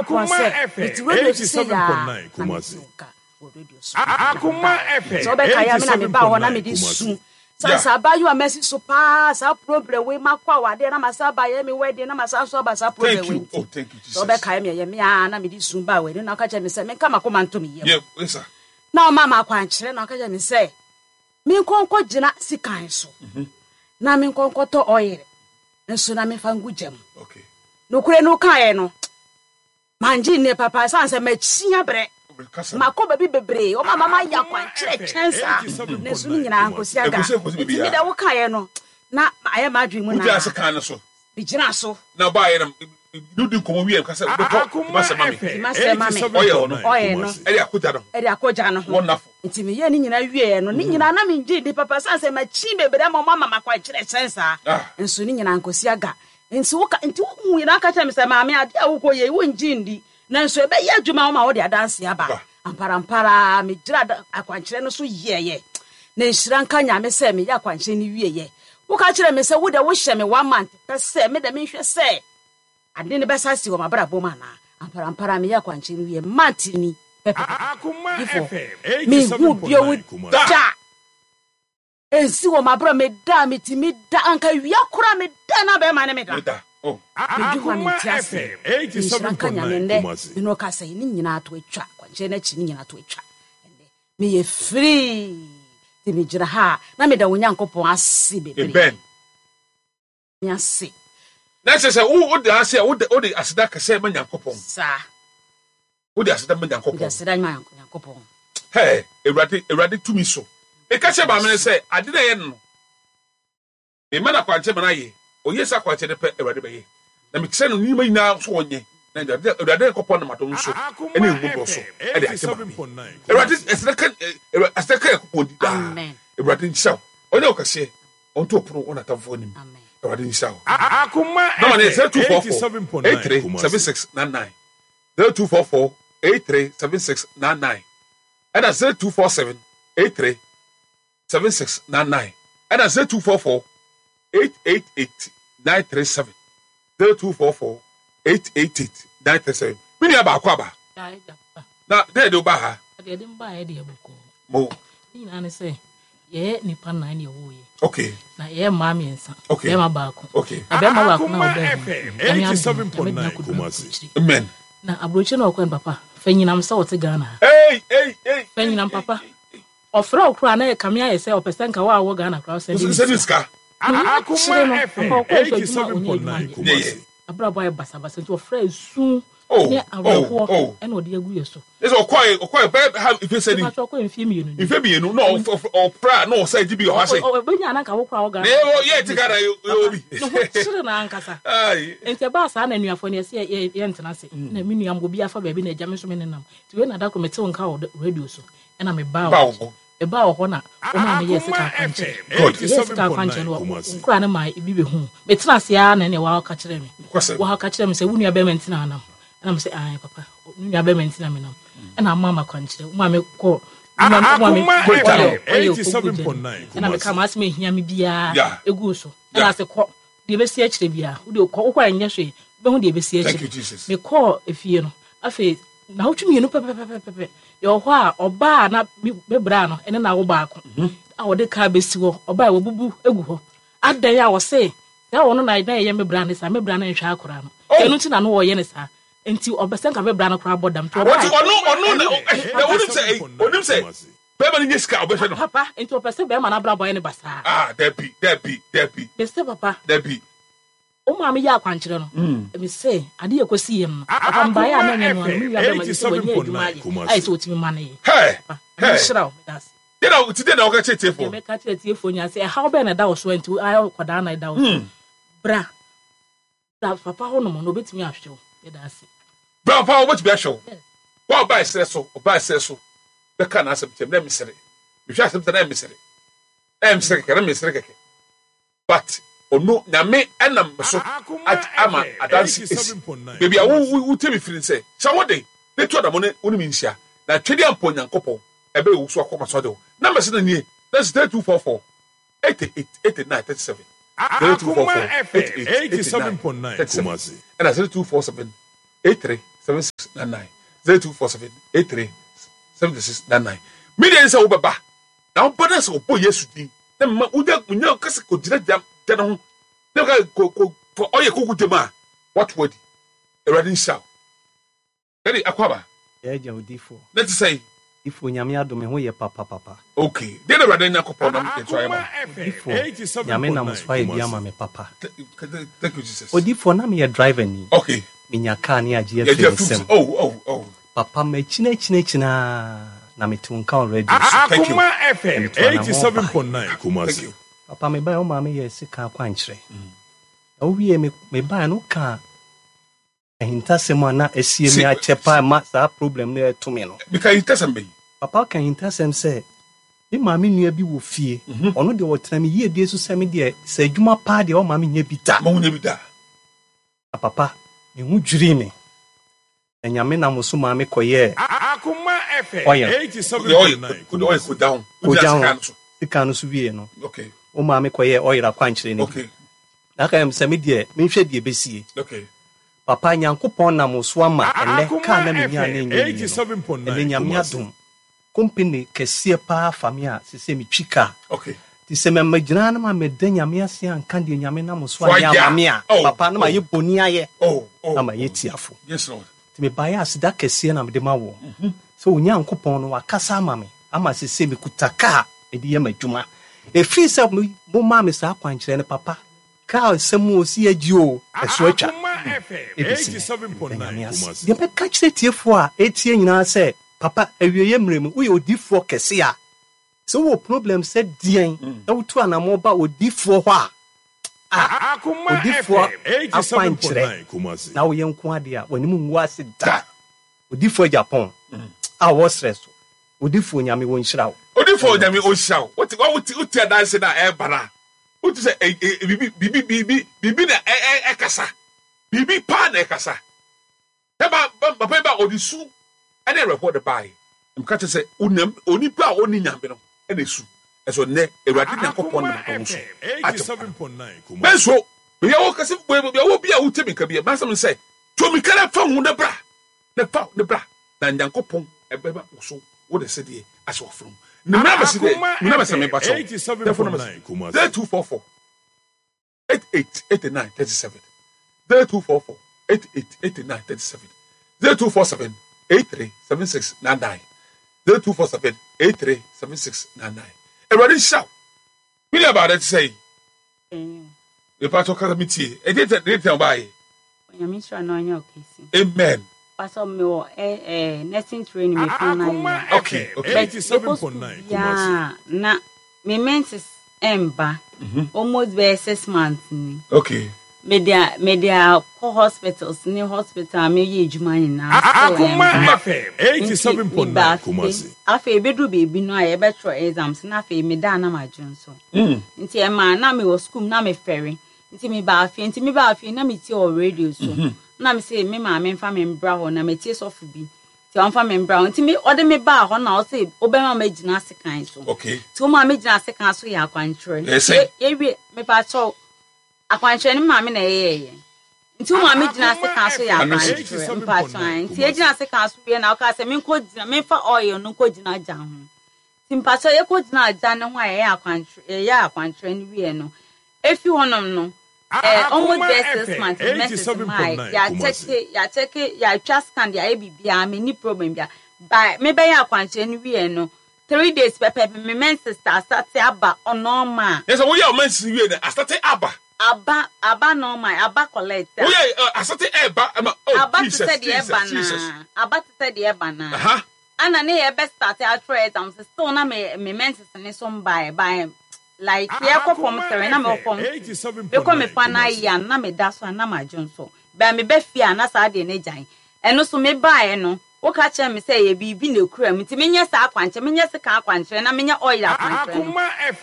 Nyankopɔn sɛ mete radio so sei aa na mete wo nka wɔ radio so na mebaeɛ. Sɛ wobɛkae a me na mebaa hɔ na mede su sane sɛ abaayewa masi so paa saa problem wei makɔ awadeɛ na masa aba yɛ me wedding na masa nso aba saa problem wei oh, nti sɛ wobɛkae me ɛyɛ me aa na mede su baa w'anim na woka kyerɛ me sɛ menka makoma nto me yam na ɔma ma akwankyerɛ na ɔka kyerɛ me sɛ menkɔ nkɔgyina sikan so mhm. na menkɔ nkɔtɔ ɔyere nso na memfa ngu gya mu. Nokorɛ no wokaeɛ no, mangye nnie papa ɛsiane sɛ makyi abrɛ. Makɔ baabi bebree, wɔn ama mayɛ akwankyerɛ kyɛn saa, nanso ne nyinaa nkosi aga. Nti me deɛ wokaeɛ no, na ayɛ m'adwene mu naa. Megyinaa so. Na ɔbaeɛ no, ne wodi nkɔmmɔ wieɛ ka sɛ wobɛtɔ Dimasɛ ma me. Dimasɛ ma me. Ɔyɛ no. Ɔyɛ no. Ɛde akɔgya no ho. Ɛde akɔgya no ho. Wonderful. Nti meyɛɛ ne nyinaa wieɛ no, ne nyinaa na mengye nni papa ɛsiane sɛ makyin bebree ama wɔn ama me akwankyerɛ kyɛn saa. Nso ne nyinaa nkosi aga. Nti woka, nti wohu nyinaa ka kyerɛ me sɛ, Maame, adeɛ a wokɔ yɛ yi, wongye nni. Nanso ɛbɛyɛ adwuma wo ma wode adanseɛ aba. Amparampara ara, megyinaa akwankyerɛ no so yɛeɛ. Na nhyira nka Nyame sɛ meyɛ akwankyerɛ no wieɛ. Woka kyerɛɛ me sɛ wo deɛ wohyɛ me one month pɛ sɛ me deɛ menhwɛ sɛ ade no bɛsa asi wɔ m'abrabɔ mu anaa. Amparampara meyɛ akwankyerɛ no wieɛ, month ni pɛpɛpɛpɛ. Difoɔ, menhuu bio da. Ɛnsi wɔ m'abrabɔ meda a metumi da anka awia koraa meda na bɛrima ne me da. Medwe ho a mente aseɛ. Nhyira nka Nyame nnɛ me ne wo kasa yi ne nyinaa to atwa akwankyerɛ no akyi ne nyinaa to atwa ɛnnɛ meyɛ free nti megyina ha a na meda wo Nyankopɔn ase bebree. Me ase. Na kyerɛ sɛ wo wode ase a wode wode aseda kɛsɛ ma Nyankopɔn. Saa. Wode aseda ma Nyankopɔn. Wode aseda ma Nyankopɔn. Hɛ, Awurade, Awurade tumi so. Meka kyerɛ maame no sɛ ade na ɛyɛ no no, mema no akwankyerɛ ma no ayɛ. Ɔyɛ saa akwankyerɛ no pɛ, Awurade bɛyɛ. Na mekyerɛ no nneɛma nyinaa so ɔnyɛ. Na Awurade, Awurade Nyankopɔn nam adom so ne ahummɔborɔ so de agye maame yi. Awurade, aseda ka, aseda ka Nyankopɔn di daa. Awurade nhyira wo. Ɔnyɛ wo kɛseɛ. Ɔnto ɔpono wɔ n'atamfo anim. Awurade nhyira wo. Nɔma no yɛ 0244 83 7699, 0244 83 7699, ɛna 0247 83 7699, ɛna 0244 888 937, 0244 888 937. Me nua baako aba. Na dɛn de wo baa ha? Deɛ ɛde me baeɛ deɛ bɔkɔɔ. Mo. Ne nyinaa ne sɛ yɛyɛ nnipa nnan na yɛwoo yɛ. Okay. Na yɛyɛ mmaa mmiɛnsa. Okay. Bɛrima baako. Okay. Na bɛrima baako na ɔbɛn mu. Nyame adom, Nyame de no akɔduru aburokyire. Amen. Na aburokyire na ɔkɔɛ no papa, fa nyinam sɛ ɔte Ghana ha. Hey, hey, hey. Fa nyinam papa. Ɔfrɛ wo koraa na ɛkame ayɛ sɛ ɔpɛ sɛ nka wo a wowɔ Ghana koraa wosɛnde ne sika. Ne ho akyere no, papa ɔkɔɛ nso adwuma a ɔnyɛ adwuma nyɛ. Abrabɔ ayɛ basabasa nti ɔfrɛ esu Oh, ne oh, awerɛhoɔ oh. ɛna ɔde agu yɛ so. Ne sɛ ɔkɔe, ɔkɔe bɛyɛ ha mfe sɛ ni. Mpatsɔ ɔkɔe mfe mmienu ni. Mfe mmienu na ɔpra na ɔsɛ gye bi wɔ ha sɛ. Ɔbɛnya ananka wo koraa wɔ Ghana. Na yɛ yɛ ti Ghana yɛ wɔ bi. Ne ho kyere no ankasa. Nti ɛbaa saa na anuafoɔ no yɛsɛ yɛ yɛntena ase. Mm. Na me nua mbɔ bi afa baabi na agya me nso me nenam. Nti wei na da koro metew nka wɔ radio so ɛna mebaa wɔ Mebaa wɔ hɔ na wɔmaa meyɛɛ sika akwankyerɛ. Meyɛɛ sika akwankyerɛ no, nkoraa no maa ebi bɛhuu. Metena ase ara na ɛnna wɔaka kyerɛɛ me. Wɔaka kyerɛɛ me sɛ, wo nua bɛrima nti na anam. Ɛna me sɛ, ae papa, me nua bɛrima nti na menam. Ɛna ama me akwankyerɛ. Wɔmaa me kɔ ɔyɛ ɔkɔgu gya no. Ɛna meka m'asɛm a ɛhia me biara ɛguu so. Ɛna ase kɔ deɛ ɛbɛsi akyire biara wode kɔ wokɔ a ɛnyɛ hwee wobɛhu deɛ ɛbɛsi akyire mekɔɔ efie no afei naawɔtwe mmienu pɛpɛpɛpɛpɛ yɛwɔ hɔ a ɔbaa a na me bra no ɛne n'awo baako mhm. a wɔde kaa bɛsi hɔ ɔbaa a wɔbubu egu hɔ adan a wɔse sɛ ɔno na na ɛyɛ me bra ne saa me bra no nhwɛ akora no oh. ɛno nti na no wɔyɛ ne saa nti ɔbɛsɛ nka me bra no koraa bɔ dam nti ɔbaa ɔno ɔno na ɔnim sɛ ɔnim sɛ Bɛrima no nya sika a, ɔbɛhwɛ no. Papa, nti ɔpɛ sɛ bɛrima no abrabɔ ayɛ no basaa? Ah, dabi, dabi, dabi. Mese papa. Dabi. Wo maame yɛ akwankyerɛ no. Mm. Mese, ade yɛ kɔsi yɛ no. Papa mbaeɛ a na ɛnyɛ no ano, me nua bɛrima yi sɛ wanya adwuma ayɛ, ayɛ sɛ ɔtumi ma no yɛ. Hɛ, Papa, hɛ. nhyira wo, meda ase. Deɛ na, ti deɛ na wɔka kyerɛ tiefoɔ? Deɛ mɛka kyerɛ tiefoɔ nyinaa sɛ, ɛhaw bɛn na ɛda wo so a nti ayɛ kɔdaa na ɛda wo so. Mm. Bra. Bra papa hɔ nom na obetumi ahwɛ wo. Yɛda ase. Bra papa hɔ obetumi ahwɛ wo. Wa ɔbaa ɛserɛ so, ɔbaa ɛserɛ so bɛka n'asɛm kyerɛ me na mesere. Mehwɛ asɛm sɛ na mesere. Na mesere kɛkɛ, na mesere kɛkɛ. But ɔno nyame ɛnam me so ama adanse esi. Baabi a wo wo wotie me firi sɛ hyɛ wo den na tu adamo ne wo ne me nhyia. Na twɛdeɛ ampɔ Nyankopɔn ɛbɛyɛ wo so akɔ ma so ade wo. Numbers no nie, that's 3244. 88 89 37 0244 88 89 37 ɛna 0247 83 76 99 0247 83 76 99. Me deɛ ne sɛ wobɛba na wobɛ na sɛ wɔbɔ Yesu din na mma wonya wonya kasa kɔgyina gya gya no ho na ka kɔ kɔ fa ɔyɛ kɔgu gyam a woato adi. Awurade nhyira wo. Daddy Akwaaba. Yɛ agya odifoɔ. Na ɛte sɛn? Odifoɔ Nyame adom me ho yɛ papapapa. Ok deɛ na awurade Nyankopɔn nam yɛn so ayɛ ma wo. Odifoɔ Nyame nam so ayɛ bi ama me papa. Thank you Jesus. Odifoɔ na meyɛ driver ni. Ok. Menya car ne agye afiri me nsam. Oh oh oh. Papa makyini akyini akyini aa na mete wo nka wɔ radio so. Thank you. Na metu anamɔn baeɛ. Thank you. Papa mebaeɛ wo maame yɛɛ sekan akwankyerɛ. Na wowie me mebaeɛ no wokaa Ahintasɛm a na asie me akyɛ paa ma saa problem no ɛreto me no. Meka ahintasɛm bɛn? Papa ka ahintasɛm sɛ, me maame nua bi wɔ fie, ɔno deɛ ɔtena me yiedie so sɛ me deɛ sɛ adwuma paa deɛ ɔmma menyɛ bi da. Mma wonyɛ bi da. Na papa, me ho dwirii me. Na Nyame nam so maa me kɔyɛɛ oil. Wode oil, wode oil kogya ho. Kogya Wogyina ho. sekan no so. Sekan no so wie no, Okay. womaa me kɔyɛɛ oil akwankyerɛ no bi. Okay. Na aka sɛ me deɛ menhwɛ deɛ ɛbɛsie. Okay. Papa Nyankopɔn nam wo so ama ɛnnɛ car na menyaa no ɛnyɛ yie no, ɛnnɛ Nyame adom company kɛseɛ paa afa me a sesei metwi car. Okay. Nti sɛ mɛmɛgyina na mamɛda Nyame ase anka deɛ Nyame nam wo so So ayɛ ayɛ ama a. me a, Oh, papa na oh, mayɛ boni ayɛ oh, oh, na mayɛ oh. tiafo. Yes, Lord. Nti mebaeɛ a aseda kɛseɛ na mede ma woɔ sɛ Onyankopɔn no wakasa ama me ama sesei mekuta car mede yɛ m'adwuma. Ɛfiri sɛ momaa me saa akwankyerɛ no papa, car asɛm o, si agyi o, ɛso atwa. Ɛbɛsi nnɛ, meda Nyame ase. Deɛ mɛka kyerɛ atiefoɔ a ɛretie nyinaa sɛ, papa awieɛ mmerɛ mu woyɛ odiyifoɔ kɛse a, sɛ wowɔ problem sɛ deɛn na wotu anamɔ ba odiyifoɔ hɔ a, a, odiyifoɔ akwankyerɛ na woyɛ nko adeɛ a, w'anim ngu ase da. Odiyifoɔ Agyapong a ɔwɔ serɛ so, Odiyifoɔ Nyame ɔnhyira wo. Odiyifoɔ Nyame ɔnhyira wo. Wote wote wote adanse no a ɛreba no a, wote sɛ ɛ ɛ biribi biribi biribi biribi na ɛ ɛ ɛkasa. Biribi paa na ɛkasa. Na ba ba papa yi ba ɔde su ne awerɛhoɔ de baeɛ. Na meka kyerɛ sɛ onyam onipa a ɔnni Nyame no na esu. Ɛso nnɛ Awurade Nyankopɔn nam adom so agye wo nkwa. Mensuro. Baabi a wɔ kɛse baabi a wɔ bi a wotie me nka bi a m'asɛm ne sɛ tu mmirika na fa ho na bra na fa na bra na Nyankopɔn ɛbɛma wo so wo de sedeɛ ahyɛ w'afono mu. Ne me numbers deɛ me numbers na meba kyɛw. Telephone numbers 0244 88 89 37 0244 88 89 37 0247 83 76 99 0247 83 76 99 Awurade nhyira wo. Me nua baa dɛ te sɛ yi. Mepa kyɛw kasa me tie. Ɛdeɛ tɛ deɛ tɛ ɔbaa yi. Onyame nhyira na ɔnyɛ ɔkɛse. Amen. Pastor me wɔ eh, eh, nursing training me final year. Okay, okay. But mekɔ school biara na me menses ɛmba. Mhm. Almost bɛyɛ 6 months ni. Okay. Me de me de akɔ hospitals ne hospital a meyɛ adwuma nyinaa. Akoma FM 87.9 Kumasi. Afei ebeduru baabi no a yɛbɛtwerɛ exams na afei meda na madwo nso. Nti ɛmaa na mewɔ school mu na mefɛre. Nti mebaa fie, nti mebaa fie na metie wɔ radio so. Na mese me maame mfa me mbra hɔ na metie sɔfo bi. Nti ɔmfa me mbra hɔ. Nti me ɔde me baa hɔ na ɔse wobɛma magyina sekan so. Okay. Nti woma megyina sekan so yɛ akwankyerɛ. Ɛsɛ. Yɛwie mepa kyɛw akwankyerɛ no me maame na ɛyɛɛyɛ. Nti wo maame gyina sekan so yɛ akwankyerɛ mpakyɛw. Nti yɛgyina sekan so wie na ɔkaa sɛ menkɔ gyina memfa oil no nkɔ gyina gya ho. Nti mpakyɛw yɛkɔ gyinaa gya no ho a yɛyɛ akwankyerɛ yɛyɛɛ akwankyerɛ no wieɛ no, efi hɔnom no eh, almost bɛyɛ 6 months me menses mae, yɛakyɛke yɛakyɛke yɛatwa scan de ayɛ biribiara menni problem bia but mebɛyɛ akwankyerɛ no wieɛ no 3 days pɛpɛɛpɛ me menses asate aba normal. Yɛ sɛ woyɛ wo menses wie no asate aba. Aba aba normal aba collect a. Woyɛ asate ɛɛba ɛma oh Aba te Jesus sɛ deɛ Jesus ɛba Jesus. naa aba te sɛ deɛ ɛba naa. Aha. Ana ne yɛ bɛ starte atwerɛ exams still na me me menses ne so mbaɛ but like yɛ kɔ form 3 na me wɔ form 2 me kɔ me final year no na me da so a na ma dwo nso but me ba fie a na saa deɛ no agyae ɛno so me baɛ no wo ka kyerɛ me sɛ ɛyɛ biribi na ɛkura mu nti me nyɛ saa akwankyerɛ me nyɛ sekan akwankyerɛ na me nyɛ oil akwankyerɛ no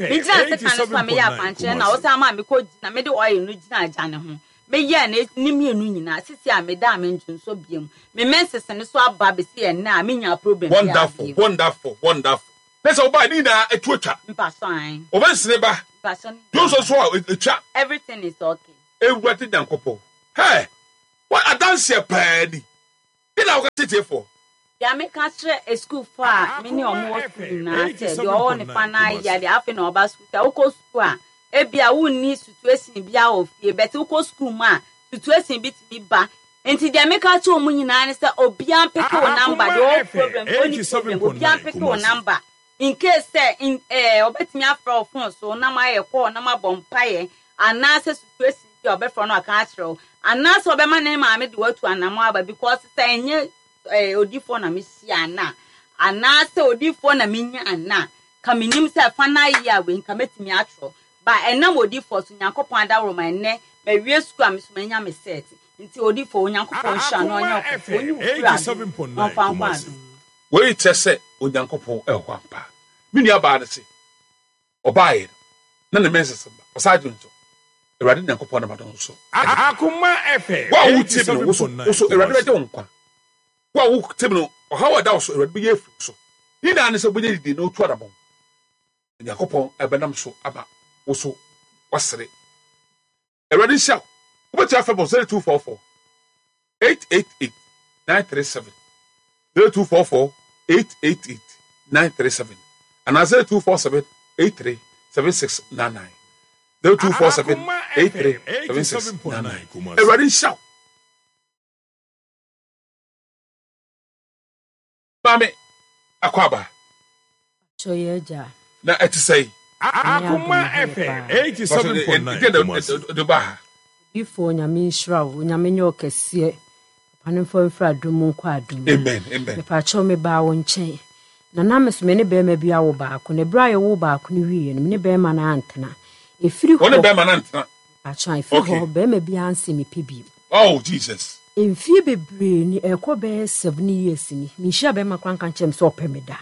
me gyina sekan no so a me yɛ akwankyerɛ na wo san maa me kɔ gyina me de oil no gyina agya ne ho Me yɛɛ ne ne mmienu nyinaa sisi a meda a me ndwonsɔ biom me menses no so aba besi ɛnnɛ a me nyaa problem biaa Wonderful biom. wonderful wonderful ne sɛ wobaa ne nyinaa ɛtu atwa Mpaso ae. Wo mensene ba Mpaso ne nyinaa dwonsɔ ba. nso a ɛtwa. Everything is okay. Awurade Nyankopɔn hɛɛ wɔ adanseɛ paa ni. Deɛ na woka kyerɛ tiefoɔ? Deɛ meka kyerɛ asukuufoɔ a me ne wɔn wɔ sukuu nyinaa sɛ, deɛ ɔwɔ ne fa no ayɛ deɛ afei na ɔba sukuu sɛ wokɔ sukuu a, ebia wonni situation biara wɔ fie but wokɔ sukuu mu a situation bi tumi ba. Nti deɛ meka kyerɛ wɔn nyinaa ne sɛ obiara mpeke wo number, deɛ ɔwɔ problem, ɔnni problem, obiara mpeke wo number in case sɛ in eh, ɔbɛtumi afrɛ wo phone so na moayɛ call na moabɔ mpaeɛ anaasɛ situation bi a ɔbɛfrɛ no aka akyerɛ wo anaasɛ ɔbɛma ne maame de watu anamɔ aba because sɛ ɛnyɛ eh, odifoɔ na mehyia ana anaasɛ odifoɔ na menya ana ka menim sɛ fa no ayɛ a wei nka mɛtumi atwerɛ ba ɛnam odifoɔ so Nyankopɔn adaworo ma ɛnnɛ mawie sukuu a me so manya me set nti odifoɔ Onyankopɔn nhyira no ɔnyɛ ɔkɛse ɔnyi wo firi adom na ɔmfa nkɔ adom mu. Wei kyerɛ sɛ Onyankopɔn wɔ hɔ ampa. Me nuabaa no se ɔbaeɛ no, na ne menses mma. Ɔsan dwonsɔ. Awurade Nyankopɔn nam adom so de ma no. Wo a wotie me no, wo so, wo so Awurade bɛgye wo nkwa. Wo a wotie me no, ɔhaw a ɛda wo so, Awurade bɛyi afiri wo so. Ne nyinaa ne sɛ wobɛnya didie na wotu anamɔn. Onyankopɔn bɛnam so ama wo so woasere. Awurade nhyira wo. Wobɛtumi afrɛ bɔ 0244 888 937, 0244 888 937 anaa 0247 83 7699, 0247 83 7699. Awurade nhyira wo. Maame Akwaaba. Pacho yɛ agya. Na ɛte sɛn? Nyame adom Akoma me ho yɛ FM paa. 87.9 Deɛ na Kumasi. ɛde ba ha. Odiyifoɔ Nyame nhyira wo, Onyame nyɛ wo kɛseɛ, papa no mfa wo mfiri adom mu nkɔ adom mu. Amen, amen. Mepakyɛw mebaa wo nkyɛn na na me so me ne bɛrima bi awo baako na ɛberɛ a yɛwoo baako no wieɛ no me ne bɛrima no antena. Ɛfiri Wo ne hɔ bɛrima no antena? mepakyɛw ɛfiri Okay. hɔ bɛrima biara nse mepɛ bio. Oh Jesus. Mfie bebree ni, ɛrekɔ bɛyɛ 7 years ni, menhyiaa bɛrima koraa nka nkyerɛ me sɛ ɔpɛ me da.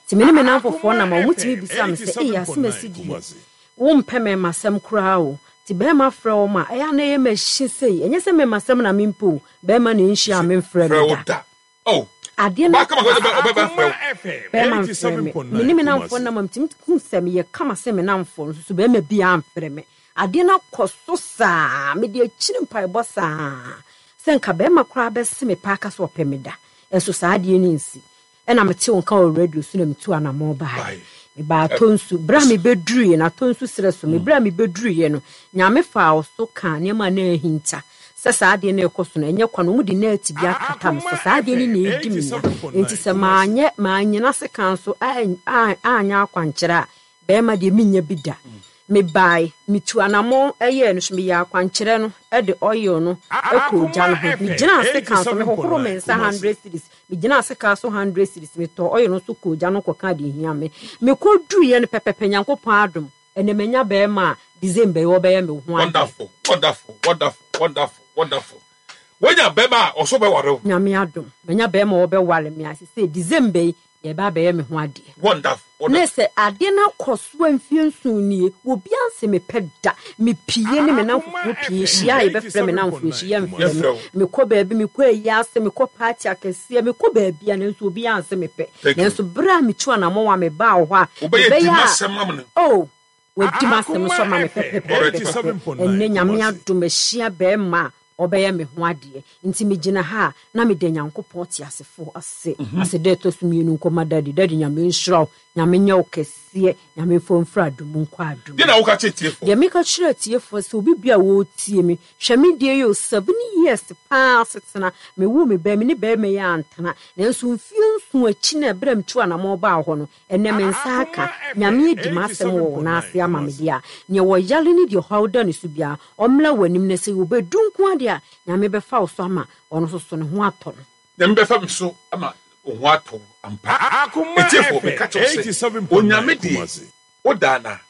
Nti me ne me nnamfofoɔ nam a, wɔtumi bisa me sɛ, Ei, Asemasi deɛ, wompɛ mmarimasɛm koraa o. Nti bɛrima frɛ wɔn a, ɛyɛ a na ɛyɛ me hye sei. Ɛnyɛ sɛ mmarimasɛm na mempɛ o, bɛrima na ɛnhyia a memfrɛ me da. Adeɛ no bɛrima mfrɛ me. Me ne me nnamfoɔ nam a, metumi hu sɛ meyɛ kama sen me nnamfoɔ no, nso bɛrima biara mfrɛ me. Adeɛ no akɔ so saa, mede akyiri mpaebɔ saa, sɛ nka bɛrima koraa bɛse me paa aka sɛ ɔpɛ me da, nso saa adeɛ no nsi. Ɛna metee wo nka wɔ radio so na metuu anammɔn baeɛ. Mebaa Atonsu. Berɛ a mebɛduruiɛ no, Atonsu serɛ so, me berɛ a mebɛduruiɛ no, Nyame faa wo so kaa nneɛma a na ahinta sɛ saa adeɛ no rekɔ so no, ɛnyɛ kwa no, wɔde nɛɛte bi akata me so. Saa adeɛ no na ɛredi me nya. Enti sɛ manyɛ, mannyina sekan so anyɛ akwankyerɛ a, Bɛɛma deɛ mennya bi da. Mebae, metuu anamɔn yɛɛ no so, meyɛɛ akwankyerɛ no de oil no kɔɔ gya no ho. Megyinaa sekan so, mehohoroo me nsa hundred cedis, megyinaa sekan so hundred cedis, metɔɔ oil no nso kɔɔ gya no ho kɔkaa deɛ ɛhia me. Mekɔduruiɛ no pɛpɛpɛ, Nyankopɔn adom, ɛnnɛ manya bɛɛma a December yi ɔbɛyɛ me ho adeɛ. Wonderful, wonderful, wonderful, wonderful, wonderful. Woanya bɛɛma a ɔso bɛware wo. Nyame adom, manya bɛɛma a ɔbɛware me a sesei December yi Yɛreba abɛyɛ me ho adeɛ. Wonderful, Ne wonderful. sɛ adeɛ no akɔ so a mfeɛ nson nie, obiara nse mepɛ da. Mepie ne me Akoma nnamfofoɔ pie FM hyia a yɛbɛfrɛ me nnamfoɔ akyi, yɛmfrɛ me. Yɛmfrɛ wo. Mekɔ baabi, mekɔ ayie ase, mekɔ party akɛseɛ, mekɔ baabi a nanso obiara nse mepɛ. Thank you. Nanso berɛ a metu anammɔn a mebaa wo hɔ a, Wobɛyɛ mebɛyɛ di a, m'asɛm ama no. oh, Wadi m'asɛm Akoma so ama me FM pɛpɛpɛpɛpɛ. Ɛnnɛ 87.9 Nyame Kumasi. adom mahyia bɛɛma a ɔbɛyɛ me ho adeɛ. Nti megyina ha a na meda Nyankopɔn teasefoɔ ase. Aseda ɛtɔ so mmienu nkɔma Daddy. Daddy Nyame nhyira wo. Nyame nyɛ wo kɛseɛ. Nyame mfa wo mfiri adom mu nkɔ adom Deɛ mu. na woka kyerɛ atiefoɔ? Deɛ meka kyerɛ atiefoɔ sɛ obi biara a ɔretie me, hwɛ me deɛ yi o, 7 years paa asetena, mewoo me ba yi, me ne bɛɛma yi antena. Nanso mfeɛ nson akyi no a ɛberɛ a metuu anamɔn baa hɔ no, Ɛnnɛ me nsa aka. Nyame adi m'asɛm wɔ wo nan ase ama me deɛ a, neɛ ɔyare ne deɛ ɔhaw da ne so biara, ɔmmra w'anim na sɛ ɔbɛdu nko ara deɛ a, Nyame bɛfa wo so ama ɔno nso so ne ho atɔ no. Nyame bɛfa me so ama wo ho atɔ wo ampa. Akoma Atiefo, meka FM kyerɛ wo sɛ, 87.9 Onyame deɛ, Kumasi. wodaa no a,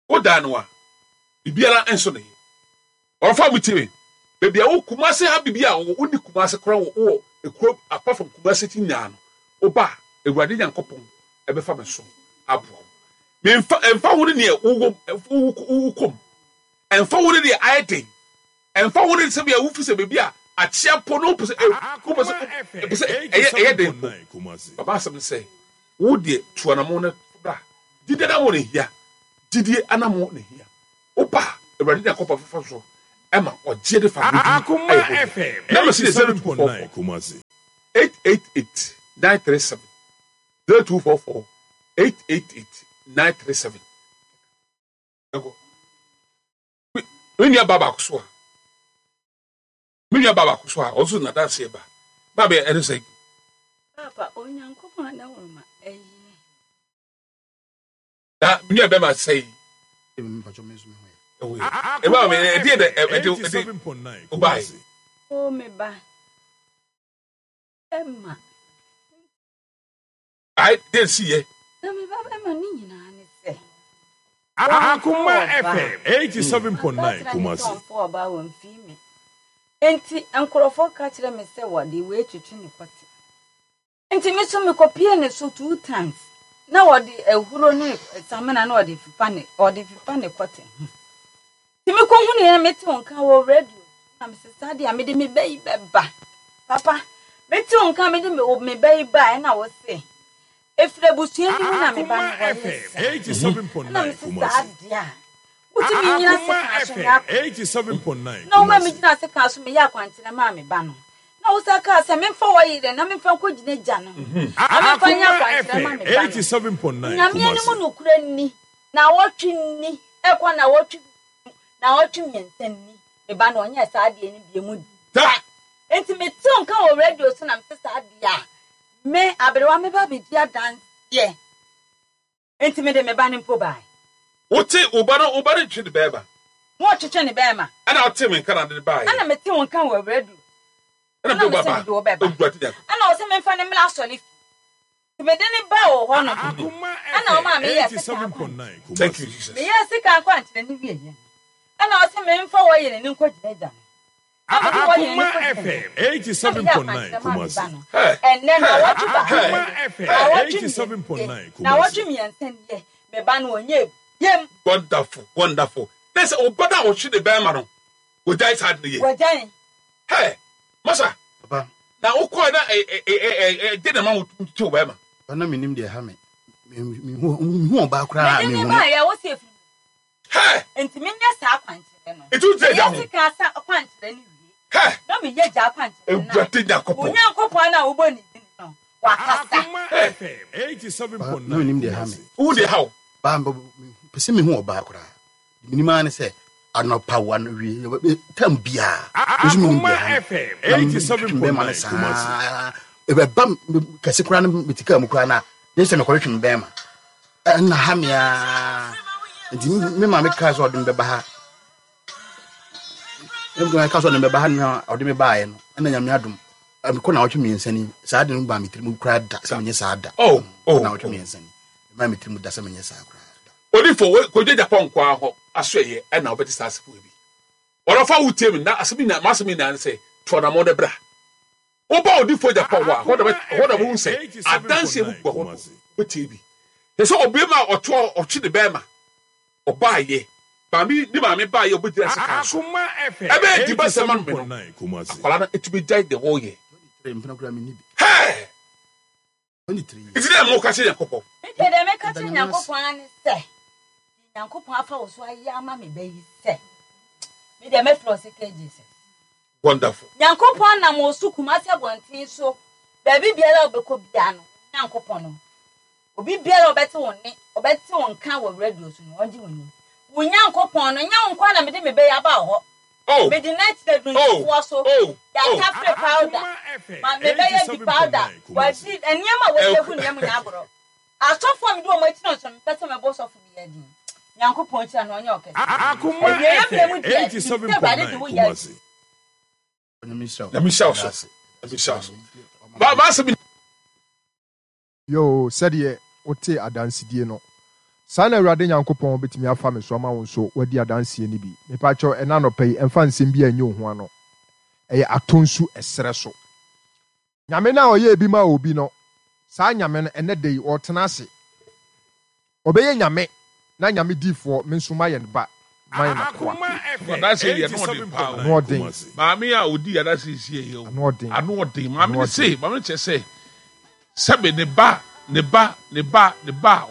Wodaa no a, biribiara nso ne yɛ. Ɔfa mu tie me. Baabi a wo Kumase ha biribi a wɔ wonni Kumase koraa wɔ wɔ ekuro apart from Kumase ti nyinaa no, woba a Awurade Nyankopɔn ɛbɛfa me so aboa wo. Memfa ɛmfa ho ne neɛ wowɔ wowɔ mu. Ɛmfa ho ne deɛ ayɛ den. Ɛmfa ho ne sɛbea wofi sɛ baabi a akyea mpo no wopɛ sɛ wopɛ sɛ wopɛ sɛ ɛyɛ ɛyɛ den mpo. Baba asɛm ne sɛ wo deɛ tu anamɔn na bra. Gyidie anamɔn na ehia. Gyidie anamɔn na ehia. Woba a Awurade Nyankopɔn bɛfa so. ɛma ɔgyeɛ de fa Akoma ayɛ hɔ FM Number si yɛ 0244 87.9 Kumasi. 888 937 0244 888 937. Ɛkɔ. Me nua ba baako so a me nua ba baako so a ɔno nso n'adanseɛ ba ba bɛ ɛne sɛ. Papa Onyankopɔn adaworo ma ɛyɛ. Na me nua bɛma sɛ yi. Ɛwɔ mi ɛdeɛ dɛ ɛde ɛde ɔbaa yi. O me ba ɛma. Ayi deɛ nsi yɛ. Na me ba bɛma ne nyinaa ne sɛ. Akoma FM 87.9 Kumasi. Ɔmfo ɔbaa wɔ mfii me. Enti nkurɔfoɔ ka kyerɛ me sɛ wɔde wei twetwe ne kɔte. Enti me nso mekɔpiee ne so two times na wɔde ahuro ne samina na wɔde fefa ne wɔde fefa ne kɔte ho. Nti mekɔhunu yɛ mete wo nka wɔ radio na mese saa deɛ a mede me ba yi bɛba. Papa, mete wo nka mede me me ba yi ba ɛna wo se ɛfiri abusua bi mu na me ba no Akoma wɔyɛ FM saa. Ɛna 87.9 mese saa Kumasi. deɛ a wotumi nyina Akoma sekan so FM nyɛ akwankyerɛ. 87.9 Na woma Kumasi. megyina sekan so meyɛ akwankyerɛ maa me ba no. Na wosan kaa sɛ memfa w'ayerɛ na memfa nkɔgyina gya no ho, na memfa nyɛ Akoma akwankyerɛ mma FM me ba no. 87.9 Onyame anim Kumasi. nokorɛ nni, naawɔtwe nni, ɛkɔ naawɔtwe mmienu, naawɔtwe mmiɛnsa nni, me ba no ɔnyɛɛ saa adeɛ no biom da. Enti metee nka wɔ radio so na mese saa adeɛ a, me aberewa mɛba abɛdi adanseɛ. Enti mede me ba no mpo bae. Wote wo ba no, wo ba no ntwe ne bɛɛma. Na ɔtwetwe ne bɛɛma. Ɛna wotee me nka na ade no baeɛ. Ɛna metee wo nka wɔ radio so. Ɛna mede wo Ɛna mese bɛba, mede wo bɛba. Awurade Nyankopɔn. Ɛna ɔse memfa no mmra asɔre fie. Nti mede no baa wɔ hɔ nom. Akoma Ɛna FM ɔmaa meyɛɛ sika akwankyerɛ. 87.9 Thank you, Kumasi. Jesus. Meyɛɛ sika akwankyerɛ no wieeɛ no, ɛna ɔse memfa wɔ yere no nkɔgyina agya no. Akoma FM 87.9 Kumasi. Ɛnnɛ nnawɔtwe baako Akoma nie, FM nnawɔtwe mmienu nie, 87.9 Kumasi. nnawɔtwe mmiɛnsa nie, me ba no ɔnyɛ biem. Wonderful, wonderful. Na sɛ ɔba no a ɔhwe ne bɛrima no, wɔgyae saa ade no yɛ. Wɔgyae. Hey, masa. Papa. Na wokɔɛ na ɛde na ma wotew bɛrima. Papa na menim deɛ ɛha me. Mehu ɔbaa koraa Mede mehu ne no. baeɛ wo sɛ ɛfiri Hɛ! Enti menyɛ saa akwankyerɛ no. Enti wogyina agya Meyɛ ho. sika asa akwankyerɛ no wie. Hɛ! Na meyɛ gya akwankyerɛ no a. Awurade Nyankopɔn. Wo Nyankopɔn a wobɔ ne din no, wakasa. Akoma Hɛ! FM Papa, na menim 87.9 deɛ ɛha me. Kumasi. Wohu deɛ ɛha wo. Paa, mepɛ sɛ mehu ɔbaa koraa. Deɛ menim ara ne sɛ anɔpa wo anɔwie tam biara. Me nso menim Akoma deɛ ɛha me. FM Na metwetwe bɛrima no 87.9 Kumasi. saa. Ɛbɛba kɛse koraa no mete kaa mu koraa no a, gye sɛ mekɔtwetwe me bɛrima. Ɛna ha me ara. Nti me maame kaa sɛ ɔde me bɛba ha. Me maame kaa sɛ ɔde me bɛba ha na ɔde me baeɛ no, ɛna nyame adom. Mekɔ naawɔtwe mmiɛnsa ni, saa de no baa me tirim koraa da sɛ menyɛ saa da. Oh, oh, Naawɔtwe oh. mmiɛnsa ni, ɛmaa me tirim da sɛ menyɛ saa koraa da. Odifo, kɔdwa Japan nkoa hɔ aso ɛyɛ ɛna wobɛte saa asɛm bi. Ɔdɔfo a wotie me na asɛm nyinaa, m'asɛm nyinaa ne sɛ, to anammɔn na bra. Woba odifo Japan hɔ a, hɔ na hɔ na wohu sɛ adanse mu gu hɔ wobɛtie bi. Hwɛ sɛ ɔbarima a ɔto ɔtwe ne bɛrima, ɔbaayɛ, maame ne maame baayɛ ɔbɛgyina sekan so. Ɛbɛyɛ di ba sɛ ma no me no, akwadaa no etumi gyae deɛ wɔreyɛ. Hɛɛ! Nti dɛ mo ka kyerɛ Nyankopɔn. Nti deɛ meka kyerɛ Nyankopɔn ara ne sɛ, deɛ Nyankopɔn afa wo so ayɛ ama me ba yi sɛ, me deɛ mɛfrɛ wo sɛ K Jesus. Wonderful. Nyankopɔn nam wo so Kumasi abɔnten so, baabi biara a wobɛkɔ biara no, Nyankopɔn no, obi biara a ɔbɛte wo nne, ɔbɛte wo nka wɔ radio so no, ɔngye wo ni. Wo Nyankopɔn no, nyɛ wo nko ara na mede me ba yi aba wo hɔ. Oh. Mede no akyerɛ dunsfoɔ so. Oh. Yɛatafere powder. Ma mebɛyɛ bi powder. Wɔadi nneɛma a wɔadi agu nneɛma nyinaa agorɔ. Asɔfoɔ a mede wɔn akyi no nso no, mepɛ sɛ mebɔ sɔfo biara din. Nyankopɔn nhyira no, ɔnyɛ ɔkɛse. Awieeɛ mmerɛ mu deɛ, nim sɛ Awurade de wo yɛ adwuma. Nyame nhyira wo. Nyame nhyira wo so. Nyame nhyira wo so. Ma m'asɛm Yoo, sɛdeɛ wotee adansedie no, saa na Awurade Nyankopɔn bɛtumi afa me so ama wo nso woadi adanseɛ no bi. Mepakyɛw, ɛnnɛ anɔpa yi, ɛmfa nsɛm biara nyɛ wo ho ano. Ɛyɛ atɔ nsu ɛserɛ so. Nyame no a ɔyɛɛ bi maa obi no, saa Nyame no, ɛnnɛ da yi, ɔretena ase. Ɔbɛyɛ Nyame, na Nyame difoɔ, me nso mayɛ ne ba, mayɛ n'akoa. Adanse yi deɛ ano ɔden paa o. Ano ɔden. Maame a odi adanse yi sie yi o. Ano ɔden. Ano ɔden. Maame no se, maame no kyerɛ sɛ, sɛbe ne ba, ne ba, ne ba, ne ba,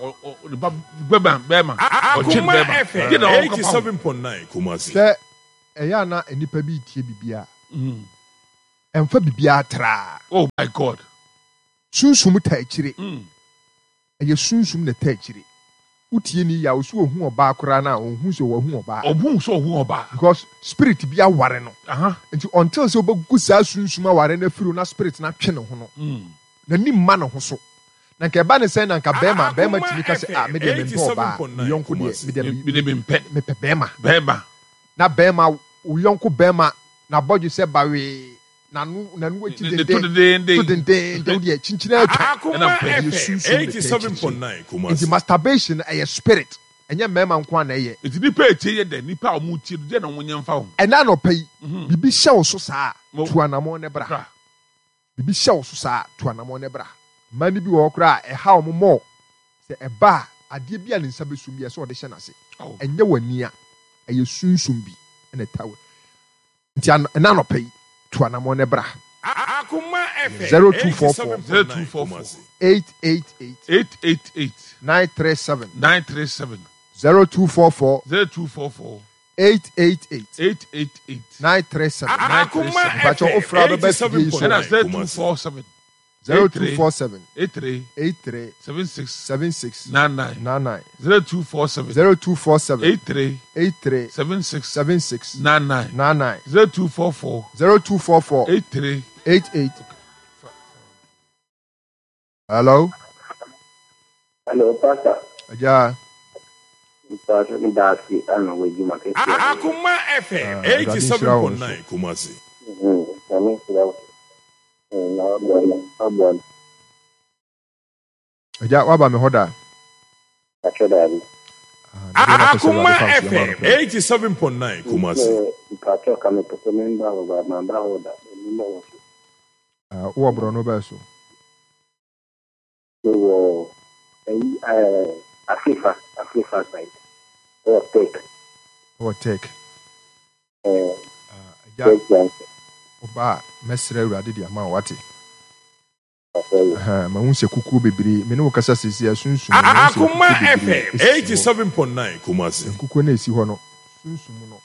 ne ba bɛma, bɛma, ɔtwe ne bɛma. Deɛ na ɔka fa ho. Hwɛ. Ɛyɛ a na nnipa bi retie biribi a, ɛmfa biribiara traa. Oh my God. Sunsum taa akyire. Ɛyɛ sunsum na ɛtaa akyire. Wotie ne yie a, ɔsi ɔhu ɔbaa koraa no a, ɔnhu sɛ wahu ɔbaa. Ɔnhu sɛ ɔhu ɔbaa. Because spirit bi aware no. Nti until sɛ wobɛgu saa sunsum aware no afiri na spirit no atwe ne ho no, n'ani mma ne ho so. Na nka ɛba ne sɛn na nka bɛrima, bɛrima tumi ka sɛ, ah, me deɛ mempɛ ɔbaa, me yɔnko deɛ, me deɛ mempɛ. Mepɛ bɛrima. Bɛrima. Na bɛrima, wo yɔnko bɛrima, n'abɔdwe sɛ bawee. N'ano n'ano akyi Ne to denden dedeenden. to dendeenden wo deɛ kyinkyin ara twa. Ɛna Akoma mpɛ. Ɛyɛ FM sunsum na ɛtaa akyirikyiri. 87.9 Nti Kumasi. masturbation no ɛyɛ spirit ɛnyɛ mmarima nko ara na ɛyɛ. Nti nipa etie yɛ dɛn? Nipa a wɔn tie no deɛ na wɔn nyɛ nfa ho? Ɛnɛ anɔpa yi biribi hyɛ wo so saa a Mo. tu anamɔn na bra. Bra. Biribi hyɛ wo so saa a tu anamɔn na bra. Mmaa no bi wɔ hɔ koraa a ɛha wɔn more sɛ ɛba a adeɛ bi a ne nsa bɛsum bi a ɛsɛ sɛ ɔde hyɛ n'ase. Oh. Ɛnyɛ w'ani a ɛyɛ sunsum bi na ɛtaa wo. Nti ɛna anɔpa yi, tu anamɔn na bra. Akoma FM 0244 87.9 0244 Kumasi. 888 888 937 937 0244 0244 888 888 937. Akoma Mpakyɛ FM wofra wobɛba afidie yi so. ɛna 87.9 Kumasi. 0247 0247 83 83 76 76 99 99 0247 0247 83 83 76 76 99 99 0244 0244 83 88. Hello, Hello, Pastor. Agya. Pastor, me da ase ana wɔ adwuma kɛseɛ a woyɛ. Akoma FM Ah, Awurade nhyira wo nso. 87.9 Kumasi. Nyame nhyira wo. Na waboa no, waboa no. Agya, woaba me hɔ da? Pakyɛ daabi. Ah, na deɛ na pɛ sɛ Akoma Awurade fa nsuo ma FM no pɛ. 87.9 Kumasi. Sɛ mpakyɛ ka mepɛ sɛ memba hɔ ba mamba hɔ da. Memba hɔ so. Ah, wowɔ borɔno bɛɛ so? Mewɔ ɛyi ɛɛ Afrifa, Afrifa side. Ɛwɔ Tech. Wɔ Tech. Ɛɛ Ah, agya, Tech Junction. woba a, mɛsrɛ Awurade de ama wo, wate? Pakyɛ yo. Ahaa, mahu sɛ kukuo bebree, me ne wo kasa seesei a, sunsum no, mahu sɛ Akoma nkukuo bebree FM esisi hɔ. 87.9 Kumasi. Nkukuo no a esi hɔ no, sunsum no,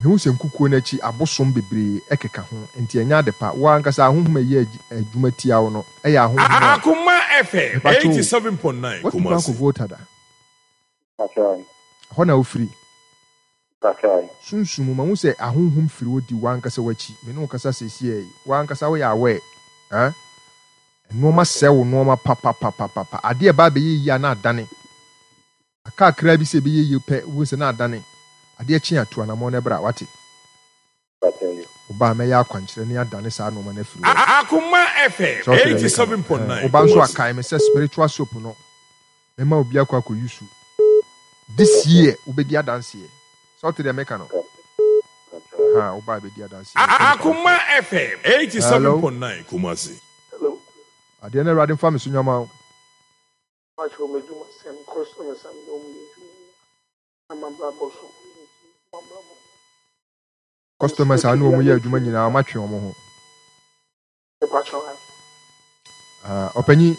mehu sɛ nkukuo no akyi abosom bebree keka ho, enti ɛnyɛ ade pa. Wo ankasa ahonhom a ɛyɛ adwuma tia wo no yɛ ahonhom a. Akoma FM Mepakyɛ o, 87.9 woatu kwan Kumasi. kɔ Volta da? Pakyɛ. Ɛhɔ na wofiri? Pakyɛ. Sunsum mu, mahu sɛ ahonhom firi hɔ di w'ankasa w'akyi. Me ne wo kasa seesei yi, w'ankasa woyɛ aware. Eh? Nnoɔma sɛe wo nnoɔma papapapapa. Adeɛ a ɛba abɛyɛ yie a na adane. Aka kakraa bi sɛ ɛbɛyɛ yie pɛ, wobɛhu sɛ na adane. Adeɛ kye a, tu anammɔn na bra, woate? Wo ba a, mɛyɛ akwankyerɛ ne adane saa nnoɔma no afiri hɔ. Akoma FM Sɛ wote deɛ meka no? Ɛɛ, 87.9 wo ba nso Kumasi. akae me sɛ spiritual soap no, mɛma obi akɔ akɔ use. This year, wobɛdi adanseɛ. Sɛ wote deɛ meka no? Ahaa, wo ba a bɛdi adanseɛ. Mepɛ nipa Akoma foforɔ. FM Hello? 87.9 Kumasi. Hello. Adeɛ no Awurade mfa me so nyama wo. Mpakyɛw m'adwuma sɛm customers a mene wɔn yɛ adwuma nyinaa na m'abrabɔ so m'abrabɔ. Customers a ne wɔn yɛ adwuma nyinaa wɔn atwe wɔn ho. Mpakyɛw ae. Ah, ɔpanyin,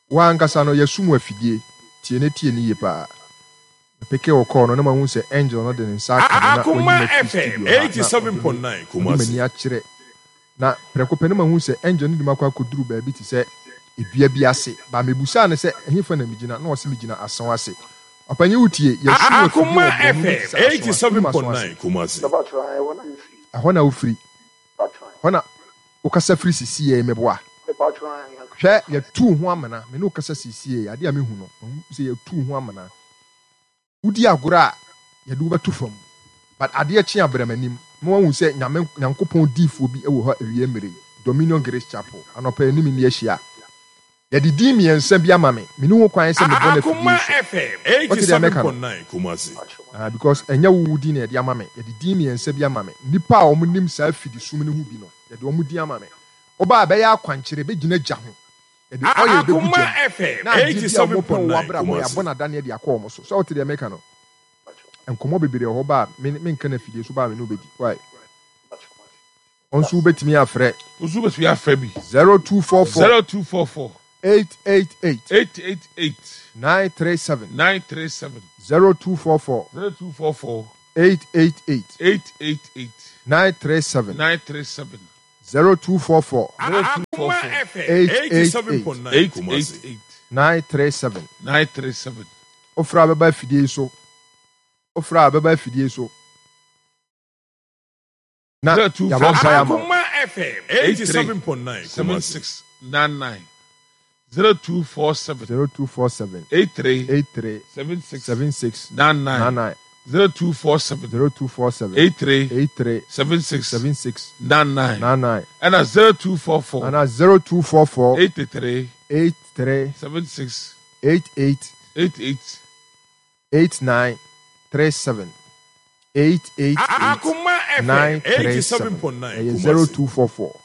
wo ankasa no yɛsum wo afidie, tie ne tie ne yie paa. Mepeke wo call no na mahu sɛ Angel no de ne nsa aka me na wayi Akoma me afiri FM studio ha na ɔde me 87.9 ɔde Kumasi. m'ani akyerɛ Na prɛko pɛ no mahu sɛ angel no de me akɔ akɔduru baabi te sɛ dua bi ase. Ba mebusaa no sɛ, Ɛhefa na megyina? Na ɔse megyina asau ase. Ɔpanyin wotie? Yɛasum afidie Akoma wɔ borɔno bi te FM sɛ asau ase. Wonim asau ase? 87.9 Kumasi. Ɛhɔ na wofiri? Ɛhɔ na wokasa firi sisiɛ yi, meboa? Hwɛ, yɛatu wo ho amena. Me ne wo kasa sisiɛ yi, adeɛ a mehu no, mahu sɛ yɛatu wo ho amena. Wodi agorɔ a yɛde wo bɛto fam but adeɛ kye a bra m'anim ma wahu sɛ Nyame Nyankopɔn diifoɔ bi wɔ hɔ awia mmerɛ yi, Dominion Grace Chapel, anɔpa yi ne me nni ahyia. Yɛde din mmiɛnsa bi ama me, menni ho kwan sɛ mebɔ no afidie Akoma yi so. FM Wote deɛ meka no? 87.9 Kumasi. Ah, because ɛnyɛ wo wo din na yɛde ama me, yɛde din mmiɛnsa bi ama me. Nnipa a wɔnim saa afidisum no ho bi no, yɛde wɔn din ama me. Woba a ɛbɛyɛ akwankyerɛ, ɛbɛgyina gya ho. Yɛde oil bɛgu Akoma gya mu FM na adeɛ bi a wɔpɛ wɔ 87.9 w'abrabɔ Kumasi. yɛabɔ no adaneɛ de akɔ wɔn so. Sɛ wote deɛ meka no? Nkɔmmɔ bebree wɔ hɔ ba a me menka no afidie so ba a me ne wo bɛdi. Why? Wo nso wobɛtumi afrɛ. Wo nso wobɛtumi afrɛ bi. 0244. 0244. 888. 888. 937. 937. 0244. 0244. 888. 888. 937. 937. 0244. 0244. 888. 888. 937. 937. Wofrɛ a bɛba afidie yi so. Wofrɛ a bɛba afidie so. Na yɛabɔ mpaeɛ ama wo. Akoma FM 87.9 Kumasi. 7699 0247 0247 83 83 76 76 99 99 0247 0247 83 83 76 76 99 99 ɛna 0244 ana 0244 83 83 76 88 88 89 37 888 Akoma FM 937 87.9 ɛyɛ Kumasi. 0244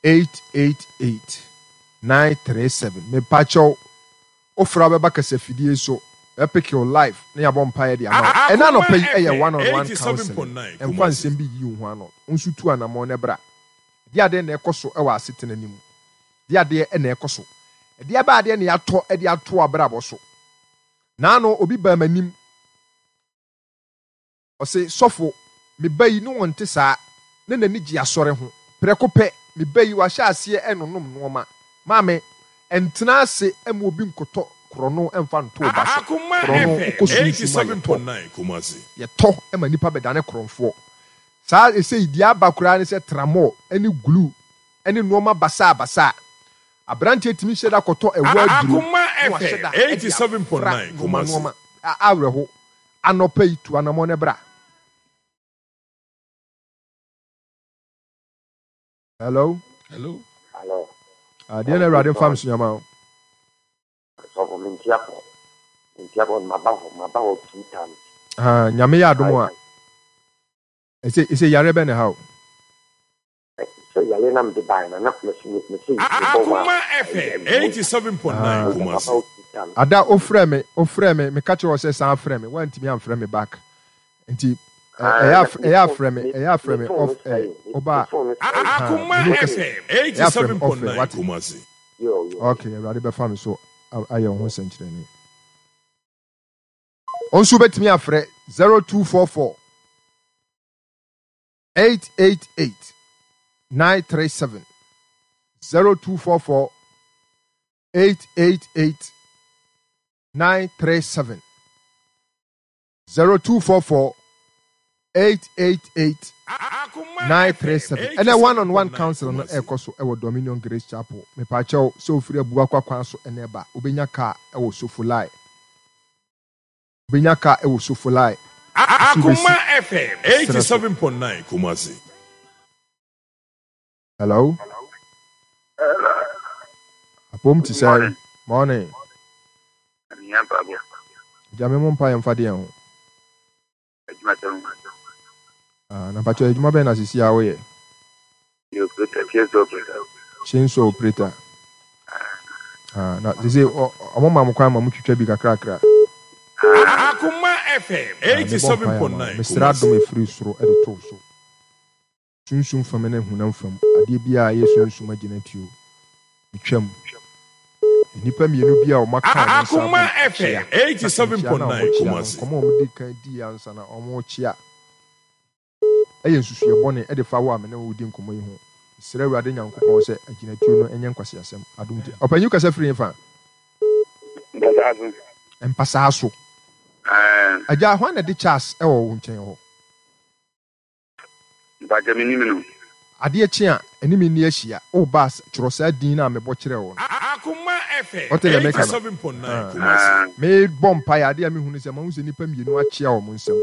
888 937 mepakyɛw wofra bɛba kasafidie so bɛpeke wo life na yɛabɔ mpaeɛ de ama wo. Ɛna anɔpa yi ɛyɛ one on one counseling 87.9 ɛmfa Kumasi. nsɛm bi yiyi wo ho ano wo nso tu anammɔn na bra. Ɛdeɛ adeɛ na ɛkɔ so wɔ asetena no mu? Ɛdeɛ adeɛ na ɛkɔ so? Ɛdeɛ bɛn adeɛ na yɛatɔ de ato abrabɔ so? Naano obi baa m'anim, ɔse, Sɔfo, me ba yi ne ɔnte saa, na n'ani gye asɔre ho. Prɛko pɛ, me ba yi wahyɛ aseɛ renonom nnoɔma. Maame, ntena ase mma obi nkɔtɔ korɔno mfa nto wo ba so. Akoma Korɔno, FM wokɔ sunsum a, yɛtɔ. 87.9 Kumasi. Yɛtɔ ma nnipa bɛdane korɔmfoɔ. Saa seesei deɛ aba koraa ne sɛ tramɔɔ ne glue ne nnoɔma basaabasaa. Aberanteɛ tumi hyɛ da kɔtɔ ɛwɔ aduro Akoma na wahyɛ FM da de afra 87.9 nnoɔma Kumasi. nnoɔma. Awerɛho. Anɔpa yi, tu anamɔn na bra. Hello. Hello. Hello. Adeɛ na Awurade mfa me so nyama o. Sɔfo mentia pɔ. Mentia pɔ maba hɔ maba hɔ two times. Ah, Nyame yɛ adom a. Ɛsɛ ɛsɛ yare bɛn na ɛha wo? Sɛ yare na mede baeɛ no na mese mese mebɔ wa. Akoma FM 87.9 Kumasi. Ada ofrɛ me ofrɛ me meka kyerɛ wo sɛ san frɛ me woantumi amfrɛ me back nti ɛyɛ ɛyɛ afrɛ me ɛyɛ afrɛ me off air ɔba Akoma FM ɛyɛ afrɛ me off air 87.9 wate Kumasi. Okay Awurade bɛfa me so ayɛ wo ho nsɛnkyerɛnne. Wo nso wobɛtumi afrɛ 0244 888 937 0244 888 937 0244 888 937 ɛnɛ one on one council no ɛrekɔ so ɛwɔ Dominion Grace Chapel mepaakyɛw sɛ ofiri Abuakwa kwan so ɛna ɛba wobɛnya kaa ɛwɔ Sofolai Wobɛnya kaa ɛwɔ Sofolai nso Akoma wobɛsi FM serɛ so. 87.9 Kumasi. Hello. Hello. Apom te Good sɛn? morning. Morning. Mehia mpaebɔ. Agya me mo mpaeɛ mfa deɛn ho? Adwuma sɛm. Ah, na mpakyɛ adwuma bɛn na sisi a woyɛ? Yɛ operator, chainsaw operator. Chainsaw operator. Ah, na sisi ɔmo ma mo kwan ma mo twitwa bi kakrakra. Akoma FM Ah, mebɔ mpaeɛ ama wo. 87.9 Mesrɛ adom Kumasi. ɛfiri soro de to wo so. Sunsum fam ne honam fam adeɛ biara a ɛyɛ sunsum agyinatuo, metwam. Nnipa mmienu bi a wɔaka wɔn nsa abom Akoma akyea, FM na nkyea no a 87.9 wɔkyea no, Kumasi. nkɔmmɔ a wɔdii kan diiɛ ansa na wɔrekyea yɛ nsusuiɛ bɔne de fa wo a me ne wo redi nkɔmmɔ yi ho. Mesrɛ Awurade Nyankopɔn sɛ agyinatuo no nyɛ nkwaseasɛm. Adom nti. Ɔpanyin kasa firi hefa? Mpasaa so. Mpasaa so. Ɛɛ. Agya, hwan na ɛde Charles wɔ wo nkyɛn hɔ? Mpakyɛ me nim no. Adeɛ kye a, ɛne me nni ahyia. O Baas, twerɛ saa din no a mebɔ kyerɛɛ wo no. Akoma FM Wote deɛ meka no? 87.9 Ahaa. Kumasi. Mebɔ mpaeɛ, adeɛ a mehu ne sɛ, mahu sɛ nnipa mmienu akyea wɔn nsam.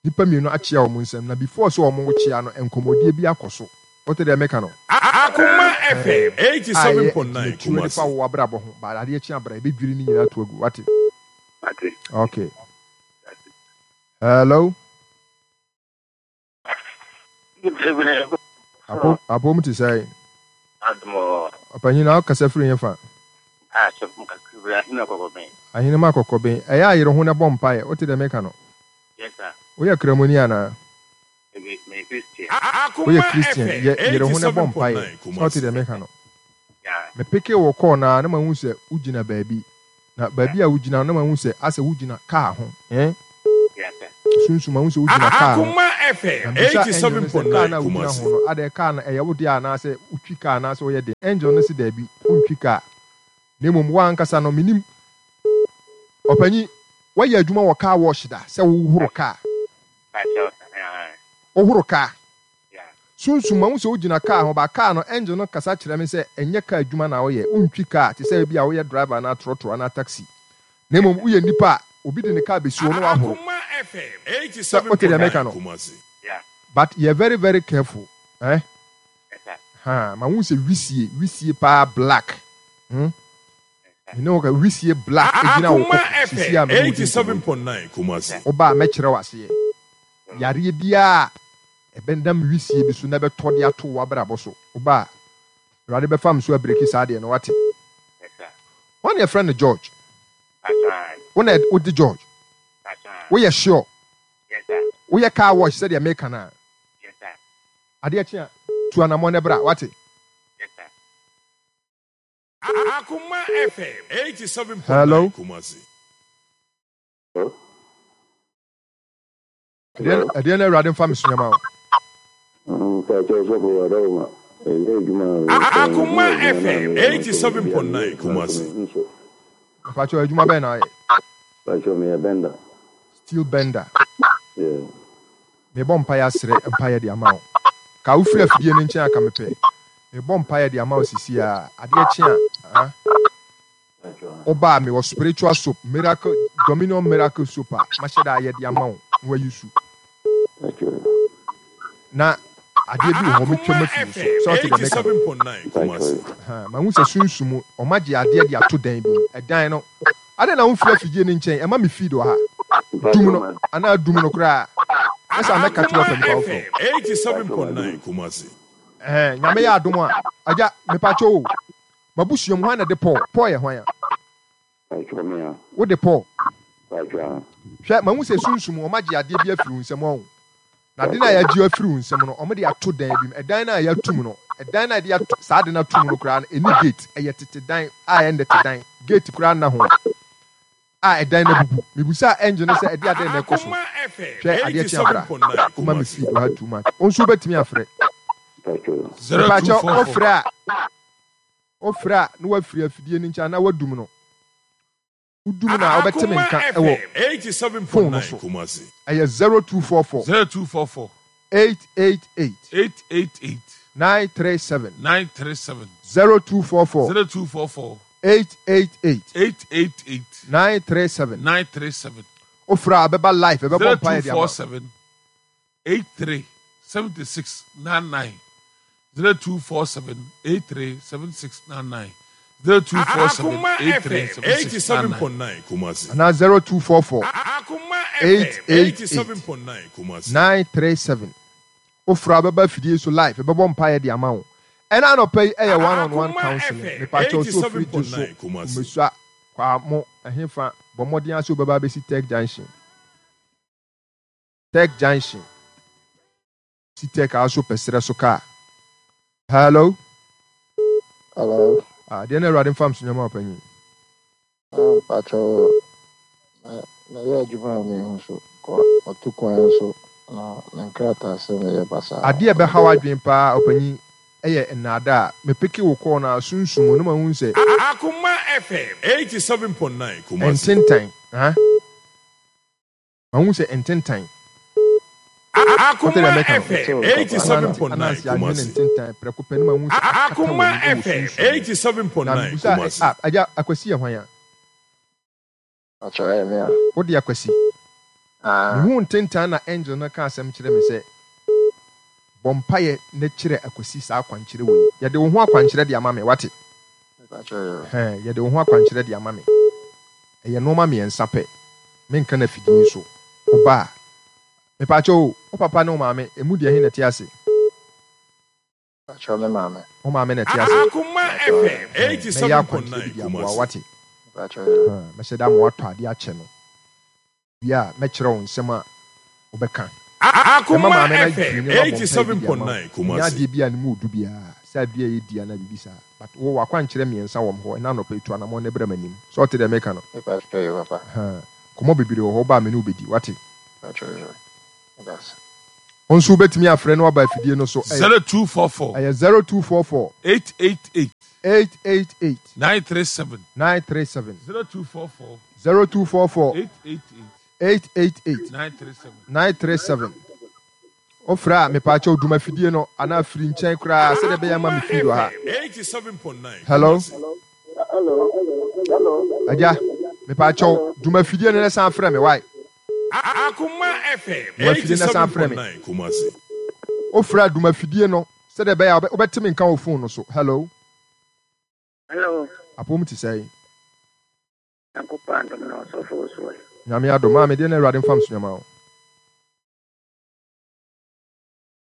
Nnipa mmienu akyea wɔn nsam, na before sɛ wɔrekyea no, nkɔmmɔdie bi akɔ so. Wote deɛ meka no? Akoma FM Ahaa. A ɛyɛ 87.9 agyinatuo de fa Kumasi. wo abrabɔ ho, but adeɛ kye a bra, yɛbɛdwiri ne nyinaa ato agu. Woate? Mate. Okay. Hello? Apom te sɛn? Ɔpanyin na ɔkasa firi he fa? Ahenema Kɔkɔben. Ɛyɛ a yere ho na bɔ mpaeɛ. Wote deɛ meka no? Woyɛ Kramoni anaa? Woyɛ Akoma Christian. FM Yɛ yere ho na bɔ mpaeɛ. 87.9 Sɛ wote Kumasi. deɛ meka no? Mepekee wo kɔɔ no ara na mahu sɛ wogyina baabi. Na baabi a wogyina no na mahu sɛ asɛ wogyina kaa ho. Eh? Sunsum mahu sɛ wogyina kaa ho. Akoma FM Na mebisa angel no sɛ, Kaa 87.9 no a wogyina Kumasi. ho no, adɛn kaa no ɛyɛ wo dea anaasɛ wotwi kaa anaasɛ woyɛ dɛn? Angel no se, Dabi, wontwi kaa. Na mmom wo ankasa no, menim. Ɔpanyin, woayɛ adwuma wɔ car wash da sɛ wohoro kaa? Wohoro kaa? Sunsum, mahu sɛ wogyina kaa ho, but kaa no, angel no kasa kyerɛ me sɛ ɛnyɛ kaa adwuma na woyɛ. Wontwi kaa te sɛ ebia woyɛ driver anaa trɔtrɔ anaa taxi. Na mmom woyɛ nipa a obi de ne kaa besi hɔ na wahoro. Sɛ wote deɛ meka no? But yɛ very very careful eh. Haa, mahu sɛ wisie, wisie paa black. Hmm? Me ne wo ka wisie black gyina wo Akoma koko sisi FM a me ne wo di nkɔmmɔ yi. 87.9 Kumasi. Woba a mɛkyerɛ wo aseɛ. Yareɛ biara a ɛbɛnam wisie bi so na ɛbɛtɔ de ato w'abrabɔ so. Woba a, Awurade bɛfa me so abireki saa adeɛ no, wate? Hwan na yɛfrɛ no George? Wo na wode George? Woyɛ sure? Woyɛ car wash sɛdeɛ meka no a? Adeɛ kye a, tu anammɔn na bra, wate? Akoma FM 87.9 Hello? Kumasi. Ɛdeɛ ɛdeɛ na Awurade mfa me so nyɛma wo. Mpakyɛw sɔfo wadawoma ɛyɛ adwuma Akoma FM 87.9 Kumasi. Mpakyɛw adwuma bɛn na ayɛ? Mpakyɛw meyɛ bender. Steel bender. Yeah. Mebɔ mpaeɛ asrɛ mpaeɛ de ama wo. Ka wofiri afidie no nkyɛn a ka mepɛ. Mebɔ mpaeɛ de ama wo sisi a adeɛ kye a ah. Woba a mewɔ spiritual soap, miracle, dominion miracle soap a mahyɛ da ayɛ de ama wo na wayi su. Na adeɛ bi wɔ hɔ metwam Akoma afiri wo so. FM Sɛ ɔte deɛ meka no. 87.9 Kumasi. Ahaa, mahu sɛ sunsum wɔagye adeɛ de ato dan bi mu. Ɛdan no, adɛn na womfiri afidie no nkyɛn? Ɛma me feed wɔ ha. Dum no, anaa dum no koraa. Nyɛ saa mɛka to Akoma afa nipa foforɔ. FM 87.9 Kumasi. Ɛhɛn, Nyame yɛ adom a, agya, mepakyɛw o, M'abusua mu, hwan na ɛde Paul? Paul yɛ hwan a? Wode Paul? Hwɛ, mahu sɛ sunsum, wɔagye adeɛ bi afiri wo nsam, wahu. Na ade no a yɛagye afiri wo nsam no, wɔde ato dan bi mu. Ɛdan no a yɛato mu no, ɛdan no a yɛde ato, saa ade no ato mu no koraa no, ɛnni gate. Ɛyɛ tete dan a ɛyɛ nnɛte dan. Gate koraa nna ho. A ɛdan no abubu. Mebisaa angel no sɛ ɛde adɛn na ɛkɔ so. Akoma FM Hwɛ, adeɛ kye abra. 87.9 Woma me Kumasi. feed wɔ ha too much. Wo nso wobɛtumi afrɛ. Mepakyɛ 0244. wofrɛ a, wofrɛ a na woafiri afidie no nkyɛn anaa woadum no. Wodum no a wobɛte me Akoma nka wɔ FM phone no 87.9 so. Kumasi. Ɛyɛ 0244 0244 888 888 937. 937 0244 0244 888 888 937. 937 Wofrɛ a ɛbɛba live, ɛbɛbɔ mpaeɛ de ama wo. 0247 83 76 99 0247 83 76 99 0247 Akoma 83 FM 76 99. 87.9 Kumasi. Anaa 0244 Akoma FM 888 87.9 Kumasi. 937. Wofrɛ a wobɛba afidie so live, yɛbɛbɔ mpaeɛ de ama wo. Ɛna anɔpa yi ɛyɛ one on one Akoma counseling. FM Mepakyɛw sɛ ofiri gye so, 87.9 Kumasi. Kumesua, Kwamo, ɛhefa, bɔ mmɔden ara sɛ wobɛba abɛsi Tech Junction. Tech Junction. Si Tech a so pɛ serɛ so kaa. Hello. Hello. Ah, deɛ na Awurade mfa mso nyɛma ɔpanyin. Ah, mpakyɛ mɛyɛ adwuma a mehu so kɔ ɔto kwan so na me nkrataa sɛ meyɛ basaa. Adeɛ a ɛbɛha w'adwene paa ɔpanyin yɛ nnaadaa. Mepeke wo kɔɔ no a sunsum no ma hu sɛ. Akoma FM 87.9 Kumasi. Ntentan, ah. Mahu sɛ ntentan. Wote deɛ Akoma meka no? FM Anante, 87.9 Ananse adwene Kumasi. ntentan prɛko pɛ no mahu sɛ akata Akoma w'anim wɔ FM sunsum mu. Na 87.9 mebusaa ɛ, Kumasi. ah, Agya, Akwasi yɛ hwan a? Mpakyɛ ɛyɛ me a. Wode Akwasi? Ah. Mehuu ntentan na angel no ka asɛm kyerɛ me sɛ, Bɔ mpaeɛ na kyerɛ Akwasi saa akwankyerɛ wei. Yɛde wo ho akwankyerɛ de ama me, wate? Ɛhɛn, yɛde wo ho akwankyerɛ de ama me. Ɛyɛ nnoɔma mmiɛnsa pɛ. Menka no afidie yi so. Woba a, mepaakyɛw o, wo papa ne wo maame, emu deɛ he na ɛte ase? Mepaakyɛw, me maame. Wo maame na ɛte ase? Akoma FM Ɛhɛn, mɛyɛ akwankyerɛ bi 87.9 de aboa wo, Kumasi. wate? Mepaakyɛw, yeah. Ɛhɛn, mɛhyɛ da ama woatɔ adeɛ akyɛ no. Wie a, mɛkyerɛ wo nsɛm a wobɛka. Bɛma Akoma maame no FM adwiri ne wabɔ mpaeɛ bi de ama wo. 87.9 Ɛnyɛ Kumasi. adeɛ bi a ne mu ɔdu biara, sɛ adeɛ a ɛyɛ di anaa biribi saa. But wo w'akwankyerɛ mmiɛnsa wɔ me hɔ, ɛnnɛ anɔpa yi tu anamɔn na bra m'anim. Sɛ wote deɛ meka no? Mepa kyɛw, papa. Ahaa. Nkɔmmɔ bebree wɔ hɔ, woba a me ne wo bɛdi, woate? Mpakyɛw yo. Meda ase. Wo nso wobɛtumi afrɛ na waba afidie no so. Ɛyɛ 0244. Ɛyɛ 0244. 888. 888. 937. 937. 0244. 0244. 888. 888. 937. 937. Wofrɛ a, mepaakyɛw dum afidie no anaa firi nkyɛn koraa sɛdeɛ ɛbɛyɛ ama me Akoma feed wɔ ha. FM 87.9 Hello? Kumasi. Hello. Hello. Agya, mepaakyɛw Hello. dum afidie no na san frɛ me, why? Akoma FM Dum afidie no na san frɛ me. 87.9 Kumasi. Wofrɛ a dum afidie no sɛdeɛ ɛbɛyɛ a wobɛte me nka wɔ phone no so. Hello? Hello. Apom te sɛn? Nyankopɔn adom na ɔsɔfo wo so ɛ. Nyame adom. Maame, deɛ na Awurade mfa mso nyama wo.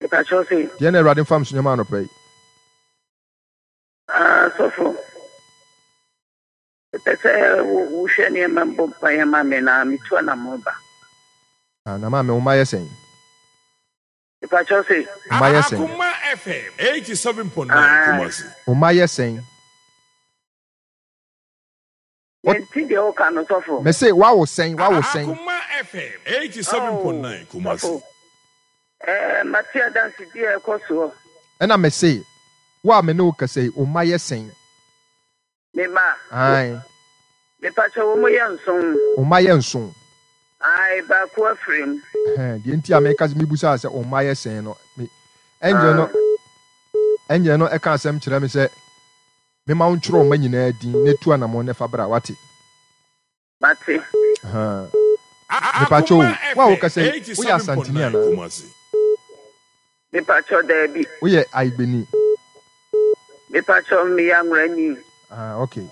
Mepakyɛw se. Deɛ na Awurade mfa mso nyama anɔpa yi. Ah, sɔfo. Mepɛ sɛ wohwɛ nneɛma mbɔ mpaeɛ ma me na metu anammɔn ba. Ah, na maame, wo mma yɛ sɛn? Mepakyɛw se. Wo mma yɛ sɛn? Akoma FM 87.9 Ah. Kumasi. Wo mma yɛ sɛn? Mente deɛ woka no sɔfo. Mese woawo sɛn woawo sɛn. Akoma FM 87.9 Oh, Kumasi. sɔfo. Eh, mate adansedie a ɛkɔ soɔ. Ɛna mese wo a me ne wo kasa yi wo mma yɛ sɛn? Me mma? Ae. Mepakyɛ wɔn yɛ nson. Wo mma yɛ nson? Ae, baako afiri mu. Ɛhɛn, deɛ nti a meka mebusaa sɛ wo mma yɛ sɛn no, me angel no angel no ɛka asɛm kyerɛ me sɛ Mema wo ntwerɛ wo mma nyinaa din na tu anamɔn na fa bra, wate? Mate. Ahaa. Mepakyɛ o, wo a wokasa yi, woyɛ Asanteni anaa? Mepakyɛ daabi. Woyɛ Ayigbeni? Mepakyɛ meyɛ Anworani. Ah, okay.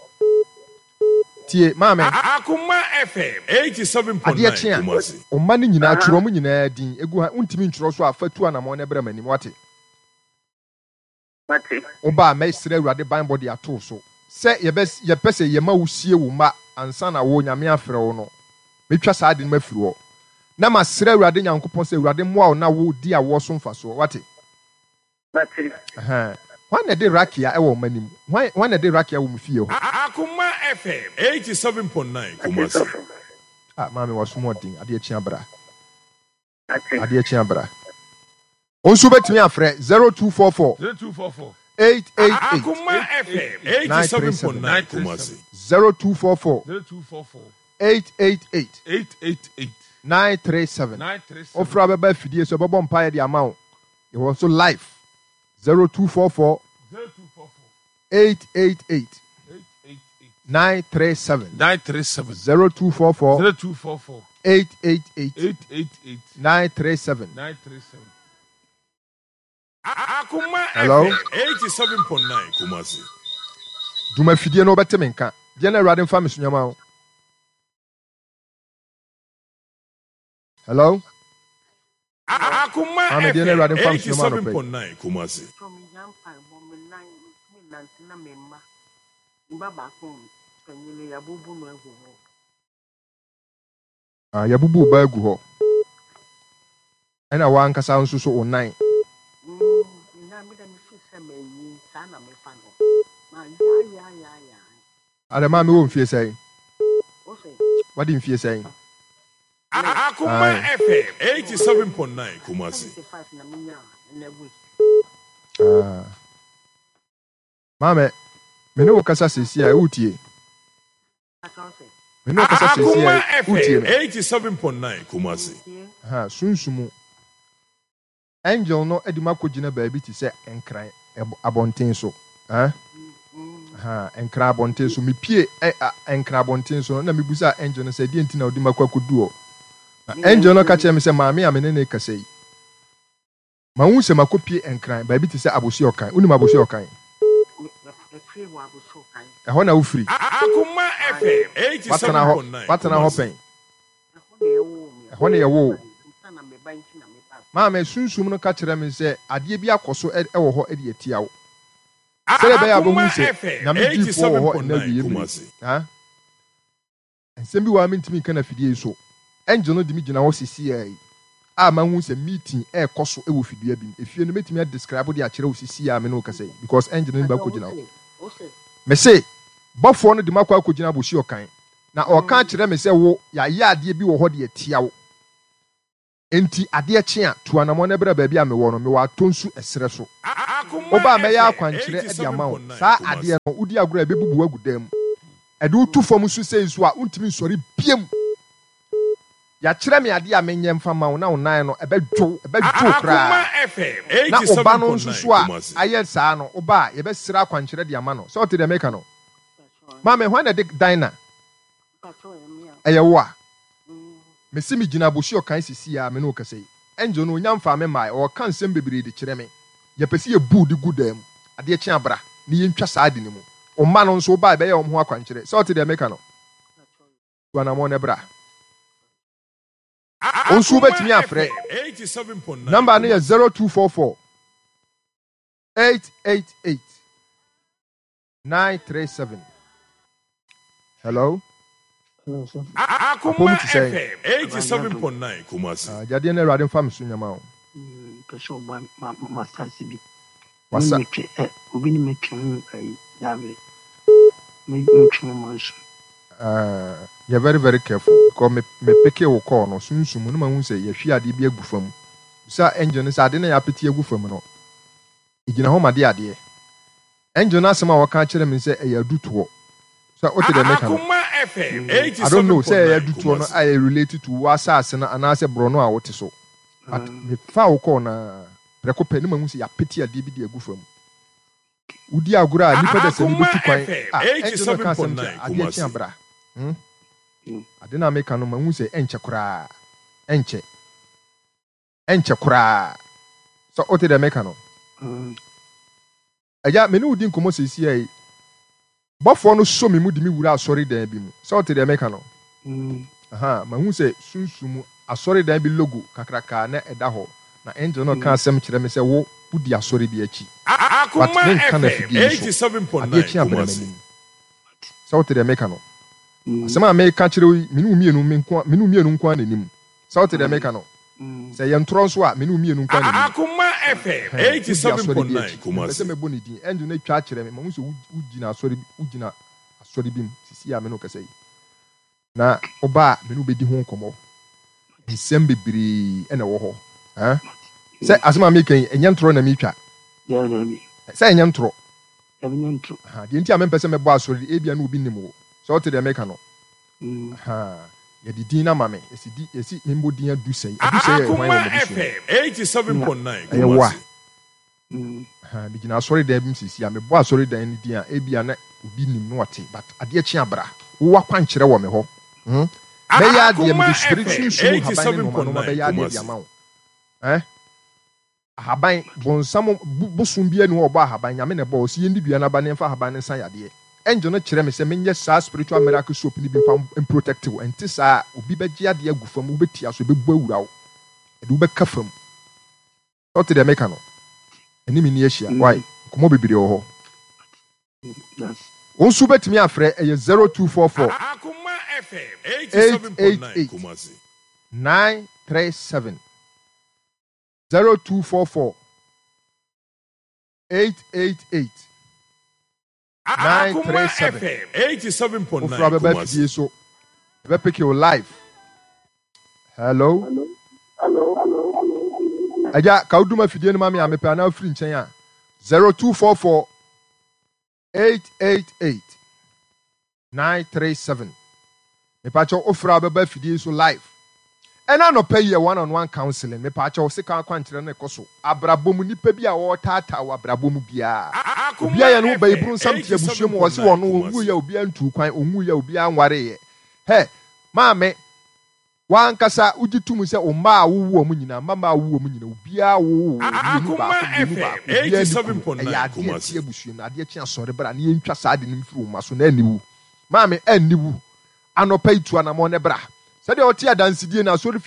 Tie, maame. Akoma FM 87.9 Adeɛ kye a, Kumasi. wo mma no nyinaa, twerɛ wɔn nyinaa din gu ha. Wontumi ntwerɛ so a, fa tu anamɔn na bra m'anim, wate? Mate. Wo ba a, mɛsrɛ Awurade banbɔ de ato wo so. Sɛ yɛbɛ, yɛpɛ sɛ yɛma wo sie wo mma ansa na wo, Nyame afrɛ wo no, mɛtwa saa ade no mafiri hɔ. Na masrɛ Awurade Nyankopɔn sɛ Awurade mmoa wo na wo di awoɔ so mfasoɔ. Wate? Mate. Ɛhɛn. Hwan na ɛde rakia wɔ mma no mu? Hwan, hwan na ɛde rakia wɔ mo fie hɔ? Akoma FM 87.9 Mate Kumasi. sɔfo. Ah, maame w'asom ɔden, adeɛ kye abra. Ate. Adeɛ kye abra. Wo nso wobɛtumi afrɛ 0244 0244 888 Akoma FM 937. 87.9 Kumasi. 0244 0244 888 888 937. 937. Wofrɛ a wobɛba afidie so yɛbɛbɔ mpaeɛ de ama wo. Yɛwɔ nso live 0244 0244 888 888 937. 937. 0244 0244 888 888 937. 937. Akoma Hello? FM 87.9 Kumasi. Dwuma fidie no wobɛte me nka. Deɛ na Awurade mfa me so nyama wo. Hello? Akoma Maame deɛ na FM Awurade mfa me so nyama anɔpa yi. 87.9 Kumasi. Ah, yɛabubu wo ba agu hɔ. Ɛna w'ankasa nso so wo nan. Adɛ maame wɔ mfie sɛn? Wadi mfie sɛn? Akoma Ae. FM 87.9 Kumasi. Ah. Maame, me ne wo kasa seesei a, wotie? Me ne wo kasa seesei Akoma a, wotie FM me? 87.9 Kumasi. Aha, sunsumu. Angel no de me akɔgyina baabi te sɛ Nkran abɔnten so. Eh? Aha, Nkran abɔnten so. Mepie ɛ, a, Nkran abɔnten so no, na mebusaa angel no sɛ, deɛ nti na ɔde me akɔ akɔdu hɔ? Na angel no ka kyerɛɛ me sɛ, maame a me ne no rekasa yi, Mahu sɛ makɔpue Nkran, baabi te sɛ Abossey Okan. Wonim Abossey Okan? Ɛhɔ na wofiri. Akoma FM Woatena hɔ, 87.9 woatena hɔ Kumasi. pɛn? Ɛhɔ na yɛwoo wo. Maame, Sunsum no ka kyerɛ me sɛ adeɛ bi akɔ so wɔ hɔ de atia wo. Sɛdeɛ ɛbɛyɛ a Akoma wobɛhu sɛ FM Nyame diifoɔ wɔ hɔ nnɛ 87.9 awieeɛ mmerɛ yi. Kumasi. Ha? Nsɛm bi wɔ hɔ a mentumi nka no afidie yi so. Angel no de me gyina hɔ sesiaa yi a mahu sɛ meeting ɛrekɔ so wɔ fidua bi mu. Efie no mɛtumi a describe de akyerɛ wo sesiaa a me ne wo kasa yi because angel no de me akɔgyina hɔ. Mese, bɔfoɔ no de me akɔ akɔgyina Abossey Okan na ɔreka akyerɛ me sɛ wo, yɛayɛ adeɛ bi wɔ hɔ de atia wo. Enti adeɛ kye a, tu anammɔn na bra baabi a mewɔ no, mewɔ Atonsu ɛserɛ so. Woba a, mɛyɛ akwankyerɛ de ama wo. Saa adeɛ no, wodi agorɔ a, ɛbɛbubu wo agu dan mu. Ɛde wo to fam nso sei nso a, wontumi nsɔre bio. Yɛakyerɛ me adeɛ a menyɛ mfa mma wo, na wo nan no, ɛbɛdwo wo, ɛbɛdwo wo koraa. Na wo ba no nso so a ayɛ saa no, woba a, yɛbɛsrɛ akwankyerɛ de ama no. Sɛ wote deɛ meka no? Maame, hwan na ɛde Dinah? Ɛyɛ wo a? Mese megyina Abossey Okai sesei a me ne wo kasa yi. Angel no onya mfaa me mmae, ɔɔka nsɛm bebree de kyerɛ me. Yɛpɛ sɛ yɛbu wo de gu dan mu. Adeɛ kye a bra na yɛntwa saa ade no mu. Wo mma no nso woba a yɛbɛyɛ wɔn ho akwankyerɛ. Sɛ wote deɛ meka no? Tu anamɔn na bra. Wo nso wobɛtumi afrɛ. Number no yɛ 0244 888. 937 Hello. Akoma Apɔmu te sɛn? FM 87.9 Kumasi. Ah, Gyadeɛ no Awurade mfa me so nyama o. Pɛ sɛ ɔboa ma masase bi. Wasa. Metwe ɛ obi ne metwe ho ayi dabre. Metwe ho ma nsu. Ah, yɛ very very careful because me me peke wo call no sunsum mu no ma hu sɛ yɛhwie adeɛ bi agu fam. Bisa angel no sɛ ade na yɛapete agu fam no egyina hɔ ma de adeɛ. Angel no asɛm a ɔka kyerɛ me sɛ ɛyɛ adutoɔ. Sɛ wote deɛ meka no? I don't know sɛ ɛyɛ adutoɔ no a ɛyɛ related to wo asase no anaasɛ borɔno a wote so. But mefaa wo kɔɔ no ara, prɛko pɛ ne mahu sɛ yɛapete adeɛ bi de agu fam. Wodi agorɔ a nnipa dasani bɛtu kwan a angel no ka asɛm kyerɛ adeɛ kye abra. Hmm? Ade no a meka no mahu sɛ ɛnkyɛ koraa. Ɛnkyɛ. Ɛnkyɛ koraa. Sɛ wote deɛ meka no? Agya, me ne wo di nkɔmmɔ seesei yi. Bɔfoɔ no sɔ me mu de me wura asɔredan bi mu. Sɛ wote deɛ meka no? Aha, mahu sɛ sunsum mu asɔredan bi logo kakraka na ɛda hɔ, na angel no reka asɛm kyerɛ me sɛ wo, wodi asɔre bi akyi. But Akoma menka no FM afidie yi so. Adeɛ 87.9 kye a brɛ Kumasi. m'anim. Sɛ wote deɛ meka no? Asɛm a meka kyerɛ wo yi, me ne wo mmienu, me nko, me ne wo mmienu nko ara na ɛnim. Sɛ wote deɛ meka no? Sɛ ɛyɛ ntorɔ nso a, me ne wo mmienu nko ara na ɛnim. Akoma FM Ɛhɛn, wodi asɔre bi 87.9 akyi. Mempɛ sɛ Kumasi. mɛbɔ ne din. Angel no atwa akyerɛ me. Mahu sɛ wo, wogyina asɔre bi, wogyina asɔre bi mu seesei a me ne wo kasa yi. Na woba a, me ne wo bɛdi ho nkɔmmɔ. Nsɛm bebree na ɛwɔ hɔ. Ɛn? Sɛ asɛm a meka yi, ɛnyɛ ntorɔ na metwa. Sɛ ɛnyɛ ntorɔ. Aha, deɛ nti a mempɛ sɛ mɛbɔ asɔre de, ebia na obi nim wo. Sɛ wote deɛ meka no? Aha, yɛde din no ama me. Yɛsi di, yɛsi memmɔ din Adusɛe. Adusɛe yɛ hwan Akoma wɔ m'abusua mu? FM 87.9 Ɛyɛ wo a. Kumasi. Aha, megyina asɔredan bi mu seesei a, mebɔ asɔredan no din a, ebia na obi nim na ɔte, but adeɛ kye a bra. Wowɔ akwankyerɛ wɔ me hɔ. Hmm? Mɛyɛ adeɛ, Akoma mede spirit, FM sunsum nhaban ne nnoɔma nnoɔma 87.9 bɛyɛ adeɛ de Kumasi. ama wo. Eh? Ahaban, bonsam, bo, bosom biara nni hɔ a ɔbɔ ahaban, Nyame na ɛbɔɔ, ɔse yɛndi dua no aba na yɛmfa ahaban no nsa yadeɛ. Angel no kyerɛ me sɛ menyɛ saa spiritual miracle soap no bi mfa mprotect wo, ɛnte saa a, obi bɛgye adeɛ agu fam, wobɛtia so, ɛbɛbu awura wo, ɛde wo bɛka fam. Sɛ wote deɛ meka no, ɛne me nni ahyia, wai, nkɔmmɔ bebree wɔ hɔ. Wo nso wobɛtumi afrɛ, ɛyɛ 0244 Akoma FM 87.9 888 Kumasi. 937. 0244 888 Akoma 937. FM 87.9 Wofra bɛba Kumasi. afidie so, yɛbɛpeke wo live. Hello. Hello. Agya, ka wodum afidie no ma me a mepɛ anaa wofiri nkyɛn a 0244 888 937 Mepakyɛw wofrɛ a wobɛba afidie yi so live. Ɛna anɔpa yi yɛ one on one counseling. Mepakyɛw sika akwankyerɛ no rekɔ so. Abrabɔ mu nipa bi a ɔretaataa wɔ abrabɔ mu biara. Obi Akoma ayɛ ne ho FM bayiburu nsam te abusua mu ɔse 87.9 ɔno Kumasi. ɔnwuiɛ obiara ntuu kwan, ɔnwuiɛ obiara nwareeɛ. Hɛ, maame, W'ankasa wogye tom sɛ wo mma a wowoo wɔn nyinaa, mmammaa a wowoo wɔn nyinaa, obiara woo wo mmienu Akoma baako, mmienu FM baako, obiara nni kunu. Ɛyɛ 87.9 adeɛ a ɛte Kumasi. abusua mu. Adeɛ kye a sɔre bra na yɛntwa saa ade no mfiri wo mma so na anni wu. Maame, anni wu. Anɔpa yi tu anammɔn na bra. Sɛdeɛ wote adansedie no, asɔrefie.